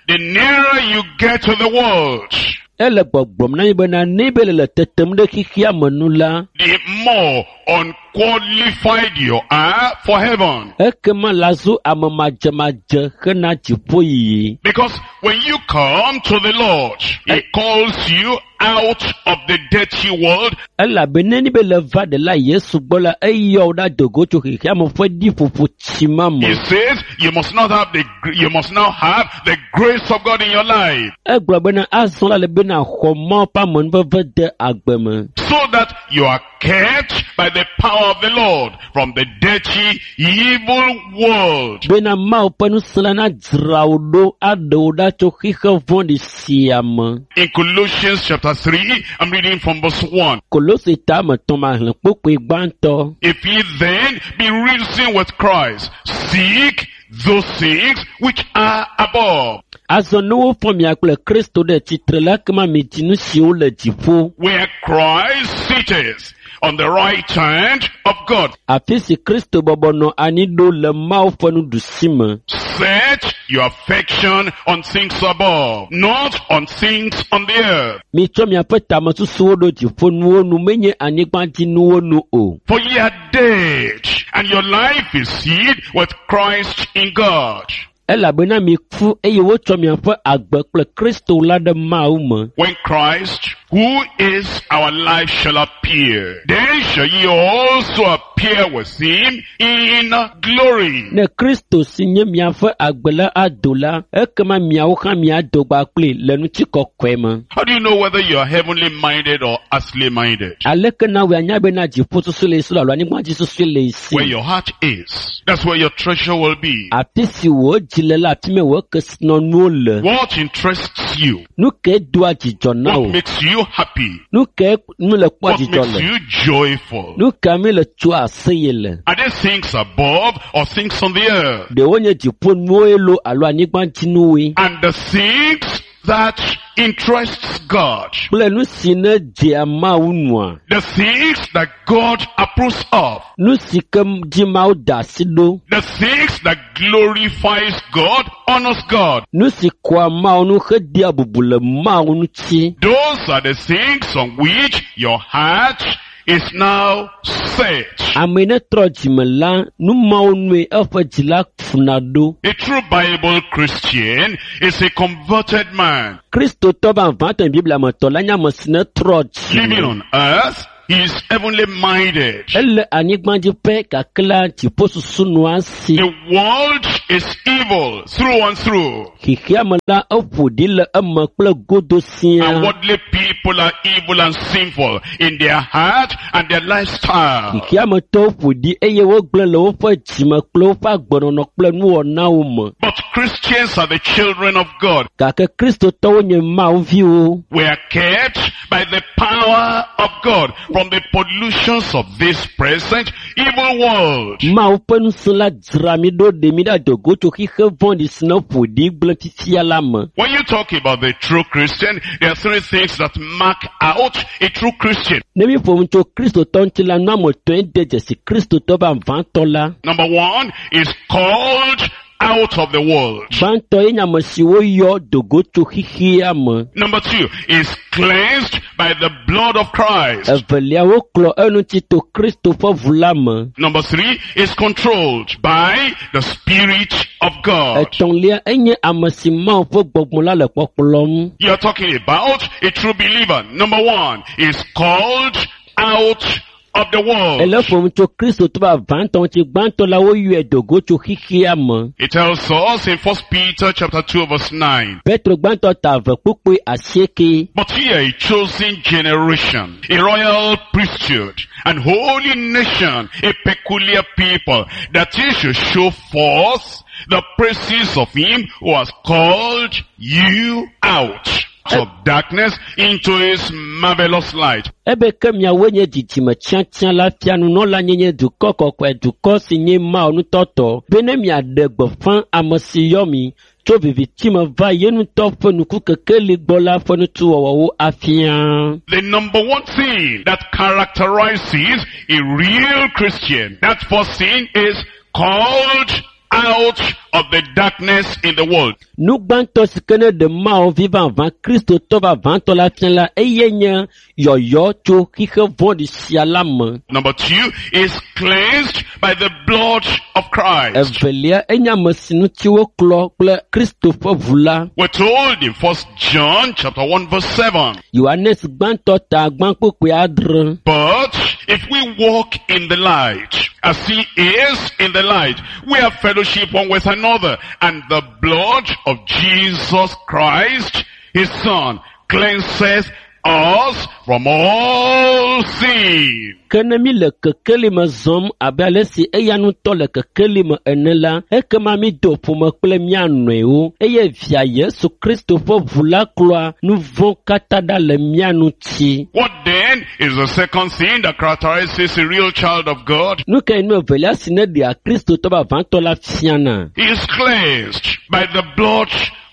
the nearer you get to the world, Ele gbɔgblɔm na mi bena ne be le tetem ɖe xexea me nu la, the more unqualified you are for heaven. ekema la zu ame madzemadze hena dziƒoyiyi. Because when you come to the Lord, He calls you out of the dirty world Elabe ne be le va ɖela Yesu gbɔ la, eyɔ wò ɖe adogo tso xexea me ƒe ɖiƒoƒo tsi ma me. He says you must not have the you must now have the grace of God in your life Egblɔ bena azɔ la le bena xɔ Mawu ƒe amenuveve de agbe me. so that you are kept by the power of the Lord from the dirty evil world. Bena Mawu ƒe ŋusẽ la nadzra wò ɖo aɖe wò ɖa tso xexe vɔ̃ɖi sia me. In Colossians chapter 3, I'm reading from verse 1. Kolose ta ame etɔ̃ ma xlẽ kpokpoe gbãtɔ. If ye then be risen with Christ, seek those things which are above. Azɔ ne wofɔ mia kple Kristo ɖe tsitre la ekema midi nu siwo le dziƒo. Where Christ sitteth on the right hand of God. Afi si Kristo bɔbɔ nɔ anyi ɖo le Mawu ƒe nuɖusi me. Set your affection on things above, not on things on the earth. Mitsɔ miaƒe tamesusuwo ɖo dziƒonuwo nu menye anyigbadzinuwo nu o. For ye are dead, and your life is hid with Christ in God. Elabena miku eye wotsɔ miaƒe agbe kple Kristo la ɖe Mawu me. When Christ, who is our life, shall appear, then shall ye also appear with him in glory. Ne Kristo si nye miaƒe agbe la ado la, ekema miawo hã miado gba kpli le ŋutikɔkɔe me. How do you know whether you are heavenly minded or earthly minded? Aleke na wòe anya bena dziƒosusu le esi alo anyigbadzisusu le esi? Where your heart is, that's where your treasure will be. Afi si wò dzi le la, afi mae wò kesinɔnuwo le. What interests you? Nu kae doa dzidzɔ na What wò? makes you happy? Nu kae nu le kpɔa What dzidzɔ makes le? you joyful? Nu ka mi le tsoa aseye le? Are they things above or things on the earth? Ɖewo nye dziƒonuwoe loo alo anyigbadzinuwoe? And the things that interests God. Kple nu si ne dzea Mawu nua? The things that God approves of. Nu si ke dzi Mawu da asi ɖo. The things that glorifies God, honors God. Nu si kɔa Mawu nu hedea bubu le Mawu ŋuti. Those are the things on which your heart is now set. Ame yi ne trɔ dzime la, nu mawo nue eƒe dzi la funa ɖo. A true Bible Christian is a converted man. Kristotɔ vavãtɔ Biblia me tɔ la nye ame si ne trɔ Living dzime. on earth, he is heavenly minded. Ele anyigba dzi pɛ gake la dziƒosusu nɔa esi. The world is evil through and through. Xexea me la eƒo ɖi le eme kple godo And siaa. worldly people are evil and sinful in their heart and their lifestyle. Xexea me tɔwo ƒo ɖi eye wogblẽ le woƒe dzime kple woƒe agbenɔnɔ kple nuwɔnawo me. But Christians are the children of God. Gake Kristotɔwo nye Mawu viwo. We are kept by the power of God from the pollutions of this present evil world. Mawu ƒe ŋusẽ la dzra mí ɖo ɖe mí ɖe adogo tso xixe vɔ̃ɖi si ne ƒo ɖi gblẽ fifia la me. When you talk about the true Christian, there are three things that mark out a true Christian. Ne mi ƒo nu tso Kristotɔ ŋuti la, nu ame etɔ̃e de dzesi Kristotɔ vavãtɔ la. Number one is called out of the world. Gbãtɔ ye nye ame si woyɔ dogo tso xexea me. Number two is cleansed by the blood of Christ. Evelia woklɔ eŋuti to Kristo ƒe ʋu la me. Number three is controlled by the Spirit of God. Etɔ̃lia enye ame si Mawu ƒe gbɔgbɔ la le kpɔkplɔm. You're talking about a true believer. Number one is called out of the world. Ele ƒom tso Kristotɔ vavãtɔ ŋuti. Gbãtɔ la woyɔe dogo tso xexea me. It tells us in 1 Peter chapter 2 verse 9. Petro gbãtɔ ta eve kpukpui asieke. But ye are a chosen generation, a royal priesthood, an holy nation, a peculiar people, that ye should show forth the praises of him who has called you out of darkness into his marvelous light. Ebe ke miawoe nye dzidzime tiatia la fia nunɔla nyenye dukɔ kɔkɔe dukɔ si nye Mawu ŋutɔtɔ be ne miaɖe gbeƒã ame si yɔ mi tso viviti me va ye ŋutɔ ƒe nukukekeli gbɔ la ƒe nutuwɔwɔwo afia. The number one thing that characterizes a real Christian, that first thing is called out of the darkness in the world. Nu gbãtɔ si ke ne ɖe Mawu vi vavã Kristotɔ vavãtɔ la fia la eye nye yɔyɔ tso xixe vɔ̃ɖi sia la me. Number two is cleansed by the blood of Christ. Evelia enye ame si ŋuti woklɔ kple Kristo ƒe ʋu la. We're told in First John chapter 1 verse 7. Yohanes gbãtɔ ta gbã kpukpui adre. But if we walk in the light, as he is in the light, we have fellowship one with another, and the blood of Jesus Christ, his son, cleanses us from all sin. Ke ne mi le kekeli me zɔm abe ale si eya ŋutɔ le kekeli me ene la, ekema mi do ƒome kple mía nɔewo eye via Yesu Kristo ƒe ʋu la klɔa nu vɔ̃ katã ɖa le mía ŋuti. What then is the second thing that characterizes a real child of God? Nu kae nu evelia si ne ɖea Kristotɔ vavãtɔ la fiana? He is cleansed by the blood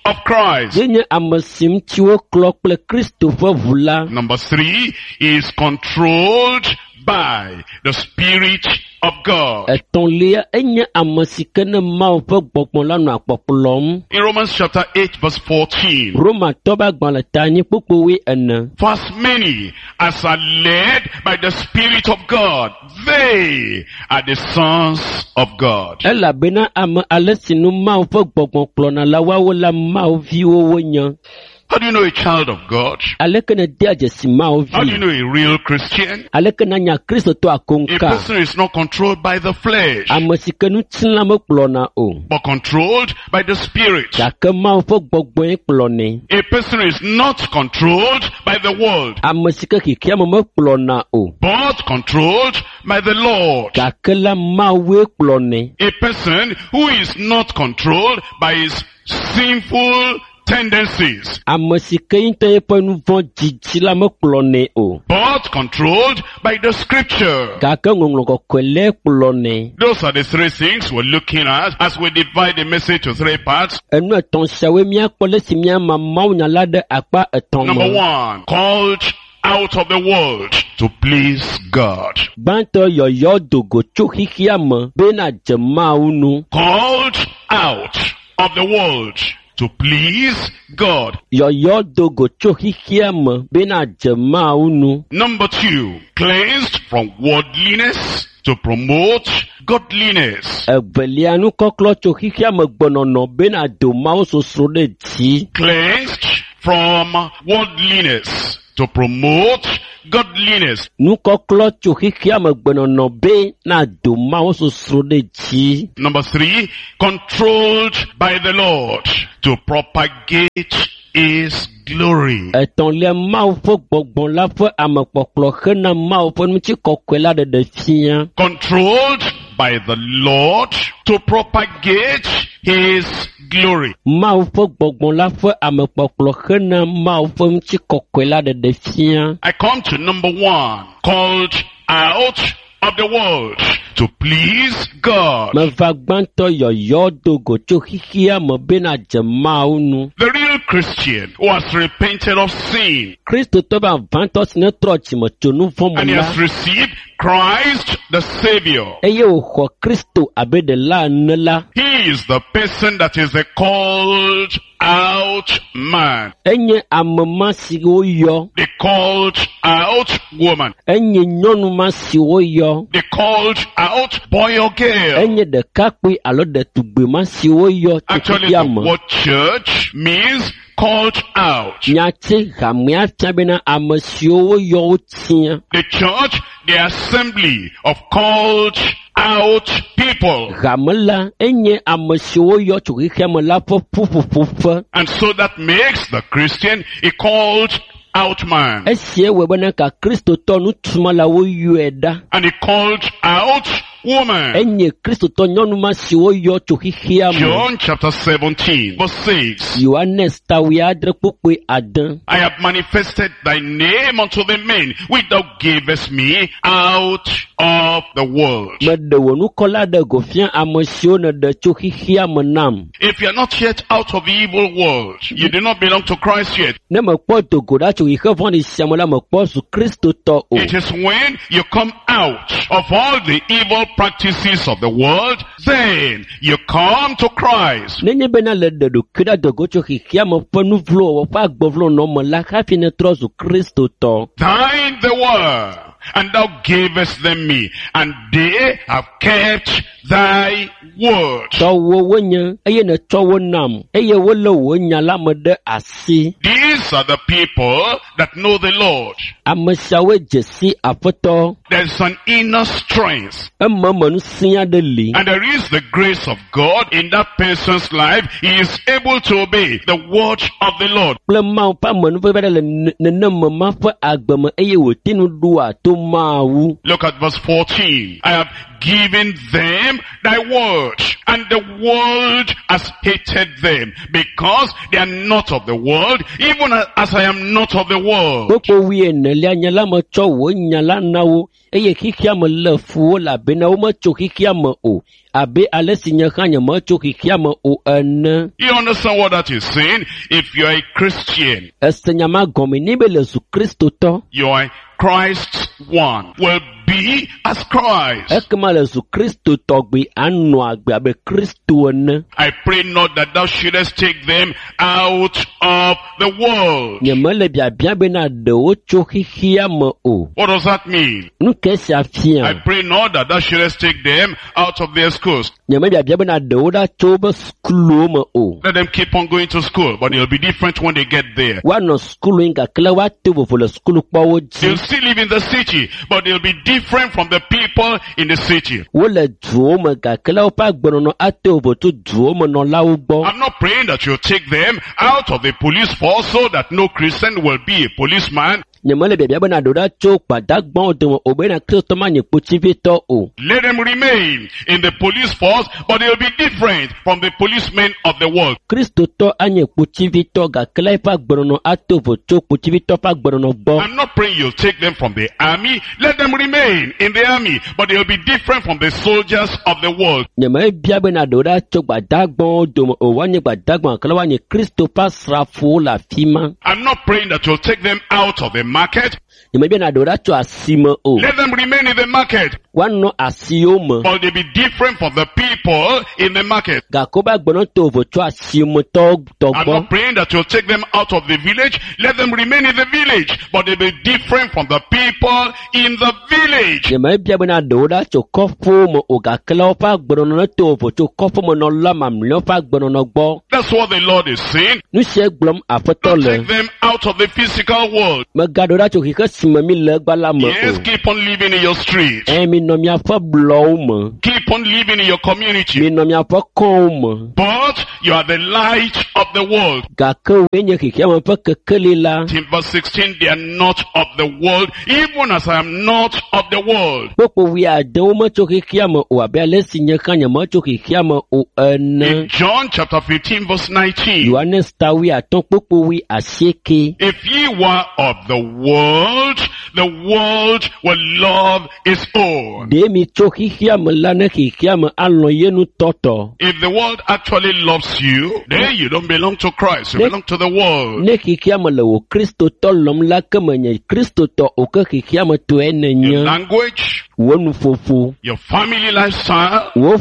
of Christ. Ye nye ame si ŋuti woklɔ kple Kristo ƒe ʋu la. Number 3 is controlled by the Spirit of God. Etɔ̃lia enye ame si ke ne Mawu ƒe gbɔgbɔ la nɔa kpɔkplɔm. In Romans chapter 8 verse 14. Romatɔ ƒe agbalẽ ta anyi kpukpui ene. For as many as are led by the Spirit of God, they are the sons of God. Elabena ame ale si nu Mawu ƒe gbɔgbɔ kplɔna la woawo la Mawu viwo wonye. How do you know a child of God? Aleke nèdea dzesi Mawu How do you vi? know a real Christian? Aleke nanya Kristotɔ A akoŋka? person is not controlled by the flesh, Ame si ke ŋutilã mekplɔna o. but controlled by the Spirit. Gake Mawu ƒe gbɔgbɔe kplɔnɛ. A person is not controlled by the world, Ame si ke xexeame mekplɔna o. but controlled by the Lord. Gake la Mawue kplɔnɛ. A person who is not controlled by his sinful tendencies, Ame si ke ŋutɔ eƒe nu vɔ̃ dzidzi la mekplɔnɛ o. but controlled by the scripture. Gake ŋɔŋlɔ kɔkɔe lae kplɔnɛ. Those are the three things we're looking at as we divide the message to three parts. Enu etɔ̃ siawoe míakpɔ le si míama mawunya la ɖe akpa etɔ̃ Number me. 1, called out of the world to please God. Gbãtɔ yɔyɔ do go tso xexea me be nadze Mawu nu. Called out of the world to please God. Yɔyɔ do go tso xexea me be nadze Mawu nu. Number 2, cleansed from worldliness to promote godliness. Evelia nukɔklɔ tso xexea me gbenɔnɔ be nado Mawu sosro ɖe dzi. Cleansed from worldliness to promote godliness. Nukɔklɔ tso xexea me gbenɔnɔ be nado Mawu sosro ɖe dzi. Number 3, controlled by the Lord to propagate his glory. Etɔ̃lia Mawu ƒe gbɔgbɔ la ƒe amekpɔkplɔ hena Mawu ƒe ŋutikɔkɔe la ɖeɖe fia. Controlled by the Lord to propagate his glory. Mawu ƒe gbɔgbɔ la ƒe amekpɔkplɔ hena Mawu ƒe ŋutikɔkɔe la ɖeɖe fia. I come to number 1, called out of the world to please God. Meva gbãtɔ yɔyɔ do go tso xexea me be nadze Mawu nu. The real Christian who has repented of sin Kristotɔ vavãtɔ si ne trɔ dzime tso nu vɔ̃ and me he la has received Christ the Savior. eye wòxɔ Kristo abe ɖela ene la, He is the person that is the called out man, enye ame ma si woyɔ, the called out woman, enye nyɔnu ma si woyɔ, the called out boy or girl. enye ɖekakpui alo ɖetugbi ma si woyɔ tso Actually, xexea the me. word church means called out. Nyati hamea fia bena ame siwo woyɔ wotia. The church, the assembly of called out people. Hame la enye ame siwo woyɔ tso xexea me la ƒe ƒuƒoƒo ƒe. And so that makes the Christian a called out man Esia wɔe bena ka Kristotɔ ŋutsu la woyɔe ɖa. and a called out woman. Enye Kristotɔ nyɔnu ma si woyɔ tso xexea me. John chapter 17 verse 6. Yohanes ta wuiadre kpukpui ade. I have manifested thy name unto the men which thou gavest me out of the world. Meɖe wò ŋkɔ la ɖe go fia ame siwo nèɖe tso xexea me nam. If you are not yet out of the evil world, you do not belong to Christ yet. Ne mekpɔ do go ɖa tso xexe vɔ̃ɖi sia me la, mekpɔ zu Kristotɔ o. It is when you come out of all the evil practices of the world, then you come to Christ. Nenye bena le ɖe ɖokui ɖa do go tso xexea me ƒe nu vlo wɔwɔ ƒe agbevlonɔ me la hafi netrɔ zu Kristotɔ. Thine they were, and thou gavest them me, and they have kept thy word. Tɔwò wonye eye nètsɔ wo nam eye wolé wò nya la me ɖe asi. These are the people that know the Lord. Ame siawoe dze si Aƒetɔ. There's an inner strength, Ememe ŋusẽ aɖe li. and there is the grace of God in that person's life. He is able to obey the word of the Lord. Kple Mawu ƒe amenuveve aɖe le nenema ma ƒe agbe me eye wòte ŋu ɖoa to Mawu. Look at verse 14. I have given them thy word, and the world has hated them, because they are not of the world, even as I am not of the world. Kpukpui wuienelia nye la metsɔ wò nya la na wo eye xexea me lé fu wo elabena wometso xexea me o abe ale si nye hã nyemetso xexea me o ene. You understand what that is saying? If you are a Christian, Ese nya ma gɔme ni be le zu kristotɔ you are Christ's one, will be as Christ. ekema le zu kristotɔgbi anɔ agbe abe kristo ene. I pray not that thou shouldest take them out of the world. Nyemele biabia bena ɖe wo tso xexea me o. What does that mean? Nu ke sia I fia? pray not that thou shouldest take them out of their schools. Nyemebiabia bena ɖe wo ɖa tso woƒe sukuluwo me o. Let them keep on going to school, but it'll be different when they get there. Woanɔ sukulu yi gake le woato vovo le sukulukpɔwo dzi. They'll still live in the city, but they'll be different from the people in the city. Wole duwo me gake le woƒe agbenɔnɔ ato vovo tso duwo me nɔlawo gbɔ. I'm not praying that you'll take them out of the police force so that no Christian will be a policeman. Nyemele biabia bena ɖe wo ɖa tso gbadagbawo dome o bena kristotɔ manye kpotsivitɔ o. Let them remain in the police force, but they'll be different from the policemen of the world. Kristotɔ anye kpotsivitɔ gake le eƒe agbenɔnɔ ato vovo tso kpotsivitɔ ƒe agbenɔnɔ gbɔ. I'm not praying you'll take them from the army. Let them remain in the army, but they'll be different from the soldiers of the world. Nyemebia bena ɖe wo ɖa tso gbadagbawo dome o woanye gbadagba gake le woanye Kristo ƒe asrafowo le afi ma. I'm not praying that you'll take them out of the market. Nyemebia na ɖe wo ɖa tso asime o. Let them remain in the market, Woanɔ asiwo me but they'll be different from the people in the market. gake woƒe agbenɔnɔ to vovo tso asimetɔwo tɔ I'm gbɔ. not praying that you'll take them out of the village. Let them remain in the village, but they'll be different from the people in the village. Nyemebia bena ɖe wo ɖa tso kɔƒewo me o gake le woƒe agbenɔnɔ to vovo tso kɔƒemenɔla mamlɛawo ƒe agbenɔnɔ gbɔ. That's what the Lord is saying. Nu sia gblɔm Aƒetɔ Don't le. take them out of the physical world. Megaɖe wo ɖa tso xexe si me mi le egbea la me Yes, o. keep on living in your street. Eye minɔ miaƒe blɔwo me. Keep on living in your community. Minɔ miaƒe kɔwo me. But you are the light of the world. Gake woe nye xexeame ƒe kekeli la. In verse 16, they are not of the world, even as I am not of the world. Kpukpui wuiade wometso xexeame o abe ale si nye hã nyemetso xexeame o ene. In John chapter 15 verse 19, Yohanes ta wuiatɔ̃ kpukpui wuiasieke. if ye were of the world, the world will love its own. Ɖe mi tso xexeame la ne xexeame alɔ̃ ye ŋutɔ tɔ. If the world actually loves you, then you don't belong to Christ, you belong to the world. Ne xexeame le wò kristotɔ lɔ̃m la ke menye kristotɔ o ke xexeame tɔe Your nènye. language, Wò nuƒoƒo, your family lifestyle, wò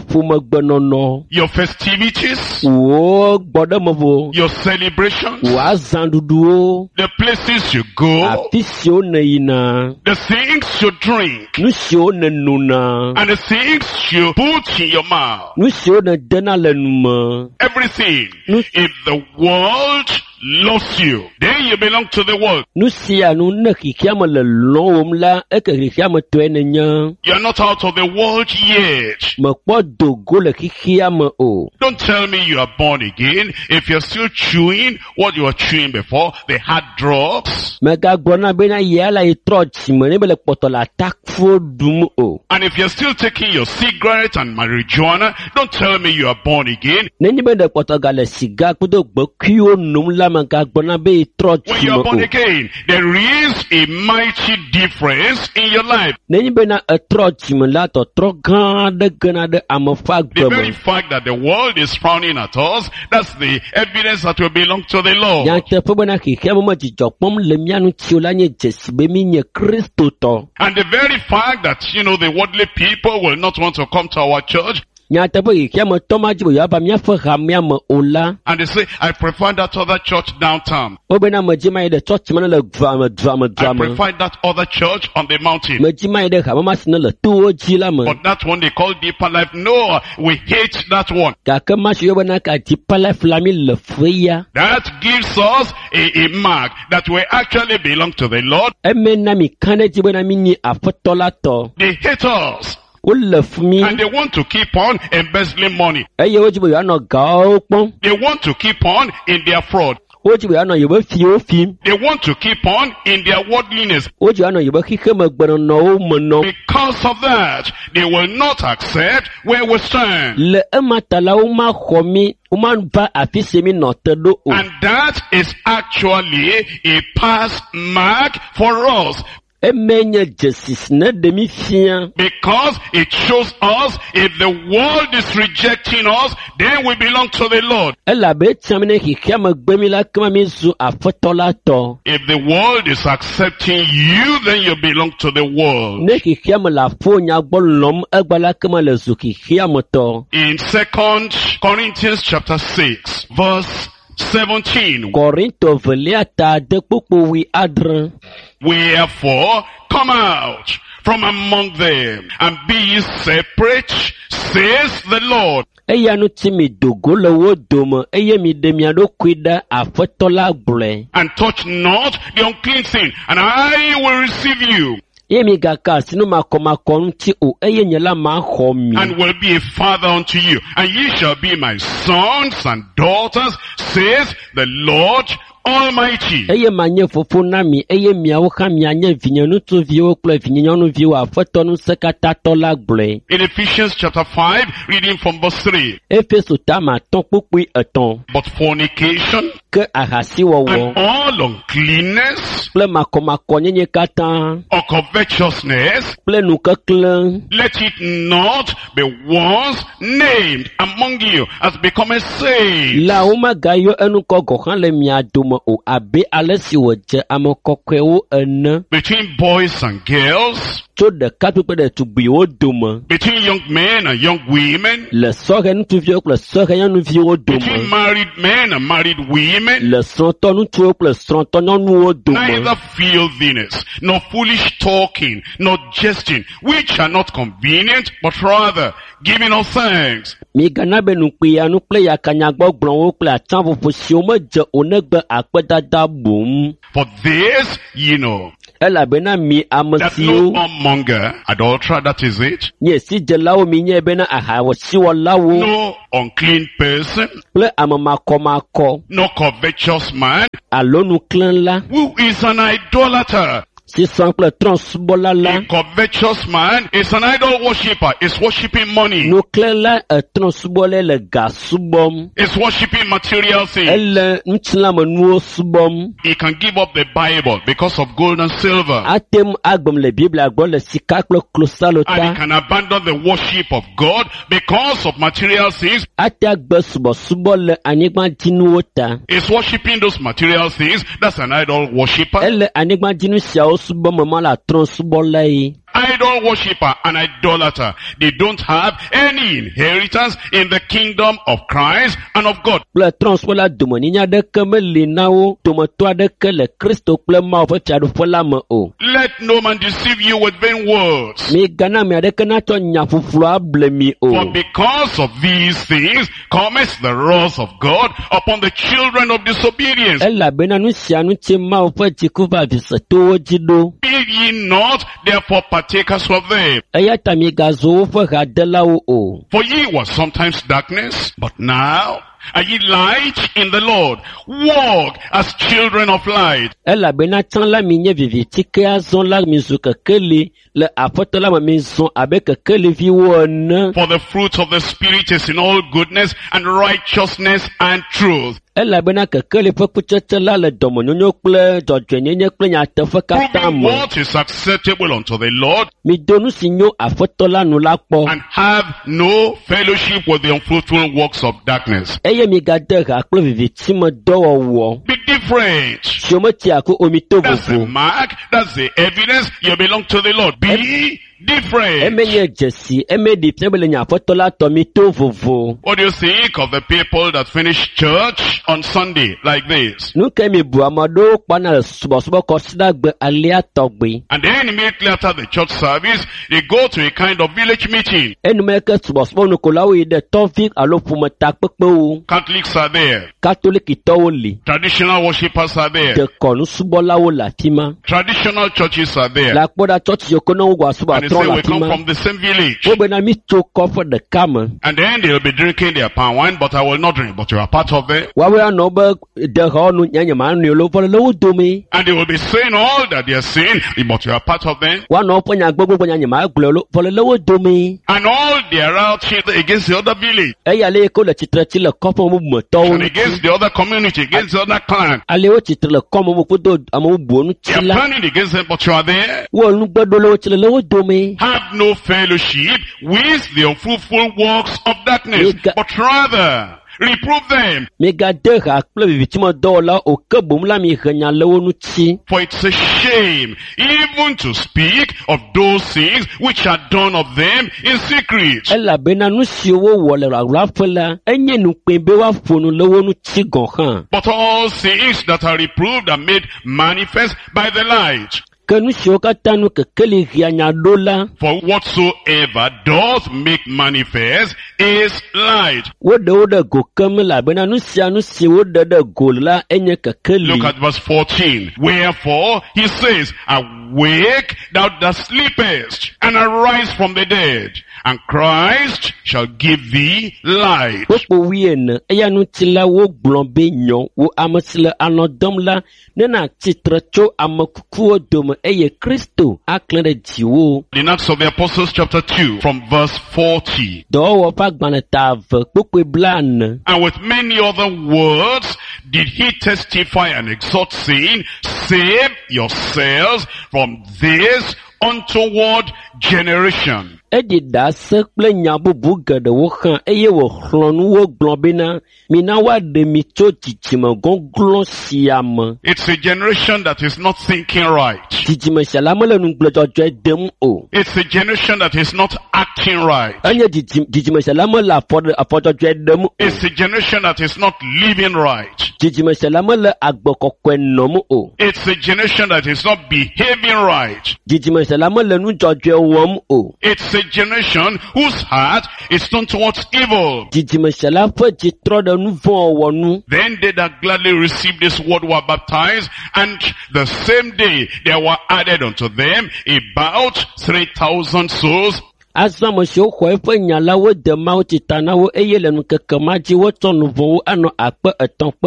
ƒomegbenɔnɔ, your festivities, wò gbɔɖemevo, your celebrations, wò azãɖuɖuwo, the places you go, afi siwo nèyina, the things you drink, nu siwo nènona, and the things you put in your mouth. nu siwo nèdena le nu me. Everything. Nu If the world loves you, then you belong to the world. nu sia nu ne xexeame le lɔ̃wòm la, eke xexeame tɔe nènye. You are not out of the world yet. Mekpɔ do go le xexeame o. Don't tell me you are born again if you're still chewing what you were chewing before, the hard drugs. Megagblɔ na bena yea la yi trɔ dzime ne be le kpɔtɔ le atakuwo ɖum o. And if you're still taking your cigarette and marijuana, don't tell me you are born again. Nenye be ɖe kpɔtɔ gale siga kple gbekuiwo nom la, megagblɔ na be yi trɔ When you dzime are born o. again, there is a mighty difference in your life. Nenye bena etrɔ dzime la, tɔtrɔ gã aɖe gena ɖe ame ƒe The agbe very me. fact that the world is frowning at us, that's the evidence that we belong to the Lord. Nyateƒe bena xexeame me dzidzɔ kpɔm le mía ŋuti o la nye dzesi be mi nye kristotɔ. And the very fact that, you know, the worldly people will not want to come to our church, Nyateƒe xexeame tɔ ma dzi be yewoava míaƒe hamea me o la, and they say, I prefer that other church downtown. wobena medzi ma yi ɖe tsɔtsi ma ne le dua me, dua me, I dua me. prefer that other church on the mountain. Medzi ma yi ɖe hame ma si ne le towo dzi la me. But that one they call deeper life. No, we hate that one. Gake ma si yɔbena ka Deeper Life la mi le fue ya. That gives us a mark that we actually belong to the Lord. Eme na mi ka ɖe edzi bena mi nyi aƒetɔ la tɔ. They hate us. Wole fu mi And they want to keep on embezzling money. eye wodzi be yewoanɔ gawo kpɔm. They want to keep on in their fraud. Wodzi be yewoanɔ yewoƒe fiwo fim. They want to keep on in their worldliness. Wodzi be yewoanɔ yewoƒe xexemegbenɔnɔwo me nɔm. Because of that, they will not accept where we stand. Le ema ta la, womaxɔ mí, womava afi si mi nɔ te ɖo o. And that is actually a pass mark for us Eme nye dzesi si ne ɖe mí fia. because it shows us if the world is rejecting us, then we belong to the Lord. Elabe etia mi ne xexea me gbe mi la, kema mi zu aƒetɔ la tɔ. If the world is accepting you, then you belong to the world. Ne xexea me le aƒo nyagbɔ lɔm egba la, kema le zu xexea me tɔ. In 2 Corinthians chapter 6, verse 17, Kɔrintɔ velia ta de kpokpo wui adre. Wherefore, come out from among them and be ye separate, says the Lord. Eya ŋuti mi do go le wo dome eye mi ɖe mia ɖokui ɖe aƒetɔ la gblɔe. And touch not the unclean thing, and I will receive you, Eye mi gaka asi nu makɔmakɔ ŋuti o eye nye la maxɔ mi. and will be a father unto you, and ye shall be my sons and daughters, says the Lord Almighty. Eye manye fofo na mi eye miawo hã mianye vinye ŋutsuviwo kple vinye nyɔnuviwo aƒetɔ ŋusẽkatãtɔ la gblɔe. In Ephesians chapter 5, reading from verse 3. Efeso tame atɔ̃ kpukpui etɔ̃. But fornication Ke ahasiwɔwɔ and all uncleanness kple makɔmakɔnyenye katã or covetousness, kple nukeklẽ let it not be once named among you as becoming saints. la womegayɔ enukɔ gɔ̃ hã le mia dome o abe ale si wòdze ame kɔkɔewo ene Between boys and girls, tso ɖekakpui kple ɖetugbiwo dome between young men and young women, le sɔhɛ ŋutsuviwo kple sɔhɛ nyɔnuviwo between dome married men and married women, le srɔ̃tɔ ŋutsuwo kple srɔ̃tɔ nyɔnuwo dome neither filthiness, nor foolish talking, nor jesting, which are not convenient, but rather giving us thanks. migana be nukpiyanu kple yakanyagbɔgblɔwo kple atsaƒoƒo siwo medze o negbe akpedada boŋ For this ye know, elabena mi ame that siwo no whoremonger, adulterer, that is it, nye sidzelawo minyae bena ahasiwɔlawo no unclean person, kple ame makɔmakɔ no covetous man, alo nuklẽla who is an idolater. si sɔ kple trɔ̃subɔla la A covetous man is an idol worshipper, is worshipping money, nuklẽla etrɔ̃subɔlae le ga subɔm is worshipping material things. ele ŋutilãmenuwo subɔm He can give up the Bible because of gold and silver. ate ŋu agbem le biblia gbɔ le sika kple klosalo And he ta can abandon the worship of God because of material things. ate agbe subɔsubɔ le anyigbadzinuwo ta Is worshipping those material things. That's an idol worshipper. ele anyigbadzinu siawo subɔm ema le trɔ̃subɔlae Idol worshipper and idolater. They don't have any inheritance in the kingdom of Christ and of God. Kple trɔ̃subɔla domenyinya aɖeke meli na wo dometɔ aɖeke le Kristo kple Mawu ƒe fiaɖuƒe la me o. Let no man deceive you with vain words. Migana ame aɖeke natsɔ nya ƒuƒlu able mi o. For because of these things cometh the wrath of God upon the children of disobedience. Elabena nu sia ŋuti Mawu ƒe dziku va visetowo dzi ɖo. Be ye not therefore partakers of them. Eya ta migazu woƒe hadelawo o. For ye were sometimes darkness, but now are ye light in the Lord. Walk as children of light. Elabena tsã la minye viviti ke azɔ la mizu kekeli le aƒetɔ la me mizɔ abe kekeliviwo ene. For the fruit of the Spirit is in all goodness and righteousness and truth. Elabena kekeli ƒe kutsetse la le dɔmenyonyo kple dzɔdzɔenyenye kple nyateƒe katã Proving me. what is acceptable unto the Lord Mido nu si nyo aƒetɔ la nu la kpɔ. and have no fellowship with the unfruitful works of darkness. Eye migade ha kple viviti me dɔwɔwɔ Be different. siwo metsia ku o mito That's the vovo. mark. That's the evidence. You belong to the Lord. Be different. Eme nye dzesi, eme ɖi fia be le nye aƒetɔ la tɔ mito vovo. What do you think of the people that finish church on Sunday like this? Nu ke mi bu ame aɖewo kpana le subɔsubɔ kɔsiɖagbe alea tɔgbi. And then immediately after the church service, they go to a kind of village meeting. Enumeke subɔsubɔnukolawo yi ɖe tɔvi alo ƒometakpekpewo. Catholics are there. Katolikitɔwo li. Traditional worshippers are there. Dekɔnusubɔlawo le afi ma. Traditional churches are there. Le akpɔ ɖa tsɔtsi yiwo ke ne wowɔ asubɔ And they trɔ say le we afi come ma. from the same village. Wobena mi tso kɔƒe ɖeka me. And then they'll be drinking their palm wine, but I will not drink. But you are part of them. Woawoe anɔ wobe dexɔwo nu nye nye ma nui lo vɔ le wo dome. And they will be saying all that they are saying, but you are part of them. Woanɔ woƒe nya gbogbo nya nye ma gblɔe lo vɔ le wo dome. And all their outing against the other village, Eya ale yi ke wole tsitre tsi le kɔƒe bubu me tɔwo and ŋuti. against the other community, against the other clan. Ale wo tsitre le kɔme bubu kudo ame bubuwo They ŋuti are la. planning against them, but you are there. Wo nugbeɖolawo tsi le le wo dome. Have no fellowship with the unfruitful works of darkness, Mega- but rather reprove them. Migade ha kple vivitsimedɔwɔlawo o ke boŋ la mihe nya le wo ŋuti. For it's a shame even to speak of those things which are done of them in secret. Elabena nu siwo wowɔ le ɣaɣlaƒe la, enye nukpee be woaƒo nu le wo ŋuti gɔ̃ hã. But all things that are reproved are made manifest by the light. Ke nu siwo katã nu kekeli hea nya ɖo la, For whatsoever doth make manifest is light. woɖe wo ɖe go keŋ elabena nu sia nu si woɖe ɖe go la enye kekeli. Look at verse 14. Wherefore he says, Awake thou that sleepest, and arise from the dead, and Christ shall give thee light. Kpukpu wuiene eya ŋuti la wogblɔ be nyɔ wo ame si le alɔ̃ dɔm la ne nàtsi tre tso ame kukuwo dome eye Kristo aklẽ ɖe dziwò. In Acts of the Apostles chapter 2 from verse 40. Dɔwɔwɔ ƒe agbalẽ ta eve kpukpui blaene. And with many other words did he testify and exhort saying, Save yourselves from this untoward generation. Eɖi ɖase kple nya bubu geɖewo hã eye wòxlɔ̃ nu wo gblɔ bena mina woaɖe mi tso dzidzime gɔglɔ̃ sia me. It's a generation that is not thinking right. Dzidzime sia la mele nugble dzɔdzɔe dem o. It's a generation that is not acting right. Enye dzidzi- dzidzime sia la mele afɔ ɖe afɔ dzɔdzɔe ɖem o. It's a generation that is not living right. Dzidzime sia la mele agbe kɔkɔe nɔm o. It's a generation that is not behaving right. Dzidzime sia la mele nu dzɔdzɔe wɔm o. It's a generation whose heart is turned towards evil. Dzidzime sia la ƒe dzi trɔ ɖe nu vɔ̃ wɔwɔ nu. Then they that gladly received this word were baptized, and the same day there were added unto them about 3,000 souls. Azɔ ame siwo xɔ eƒe nya la wode mawutsi ta na wo eye le ŋkeke ma dzi wotsɔ nu vɔ̃wo anɔ akpe etɔ̃ kpe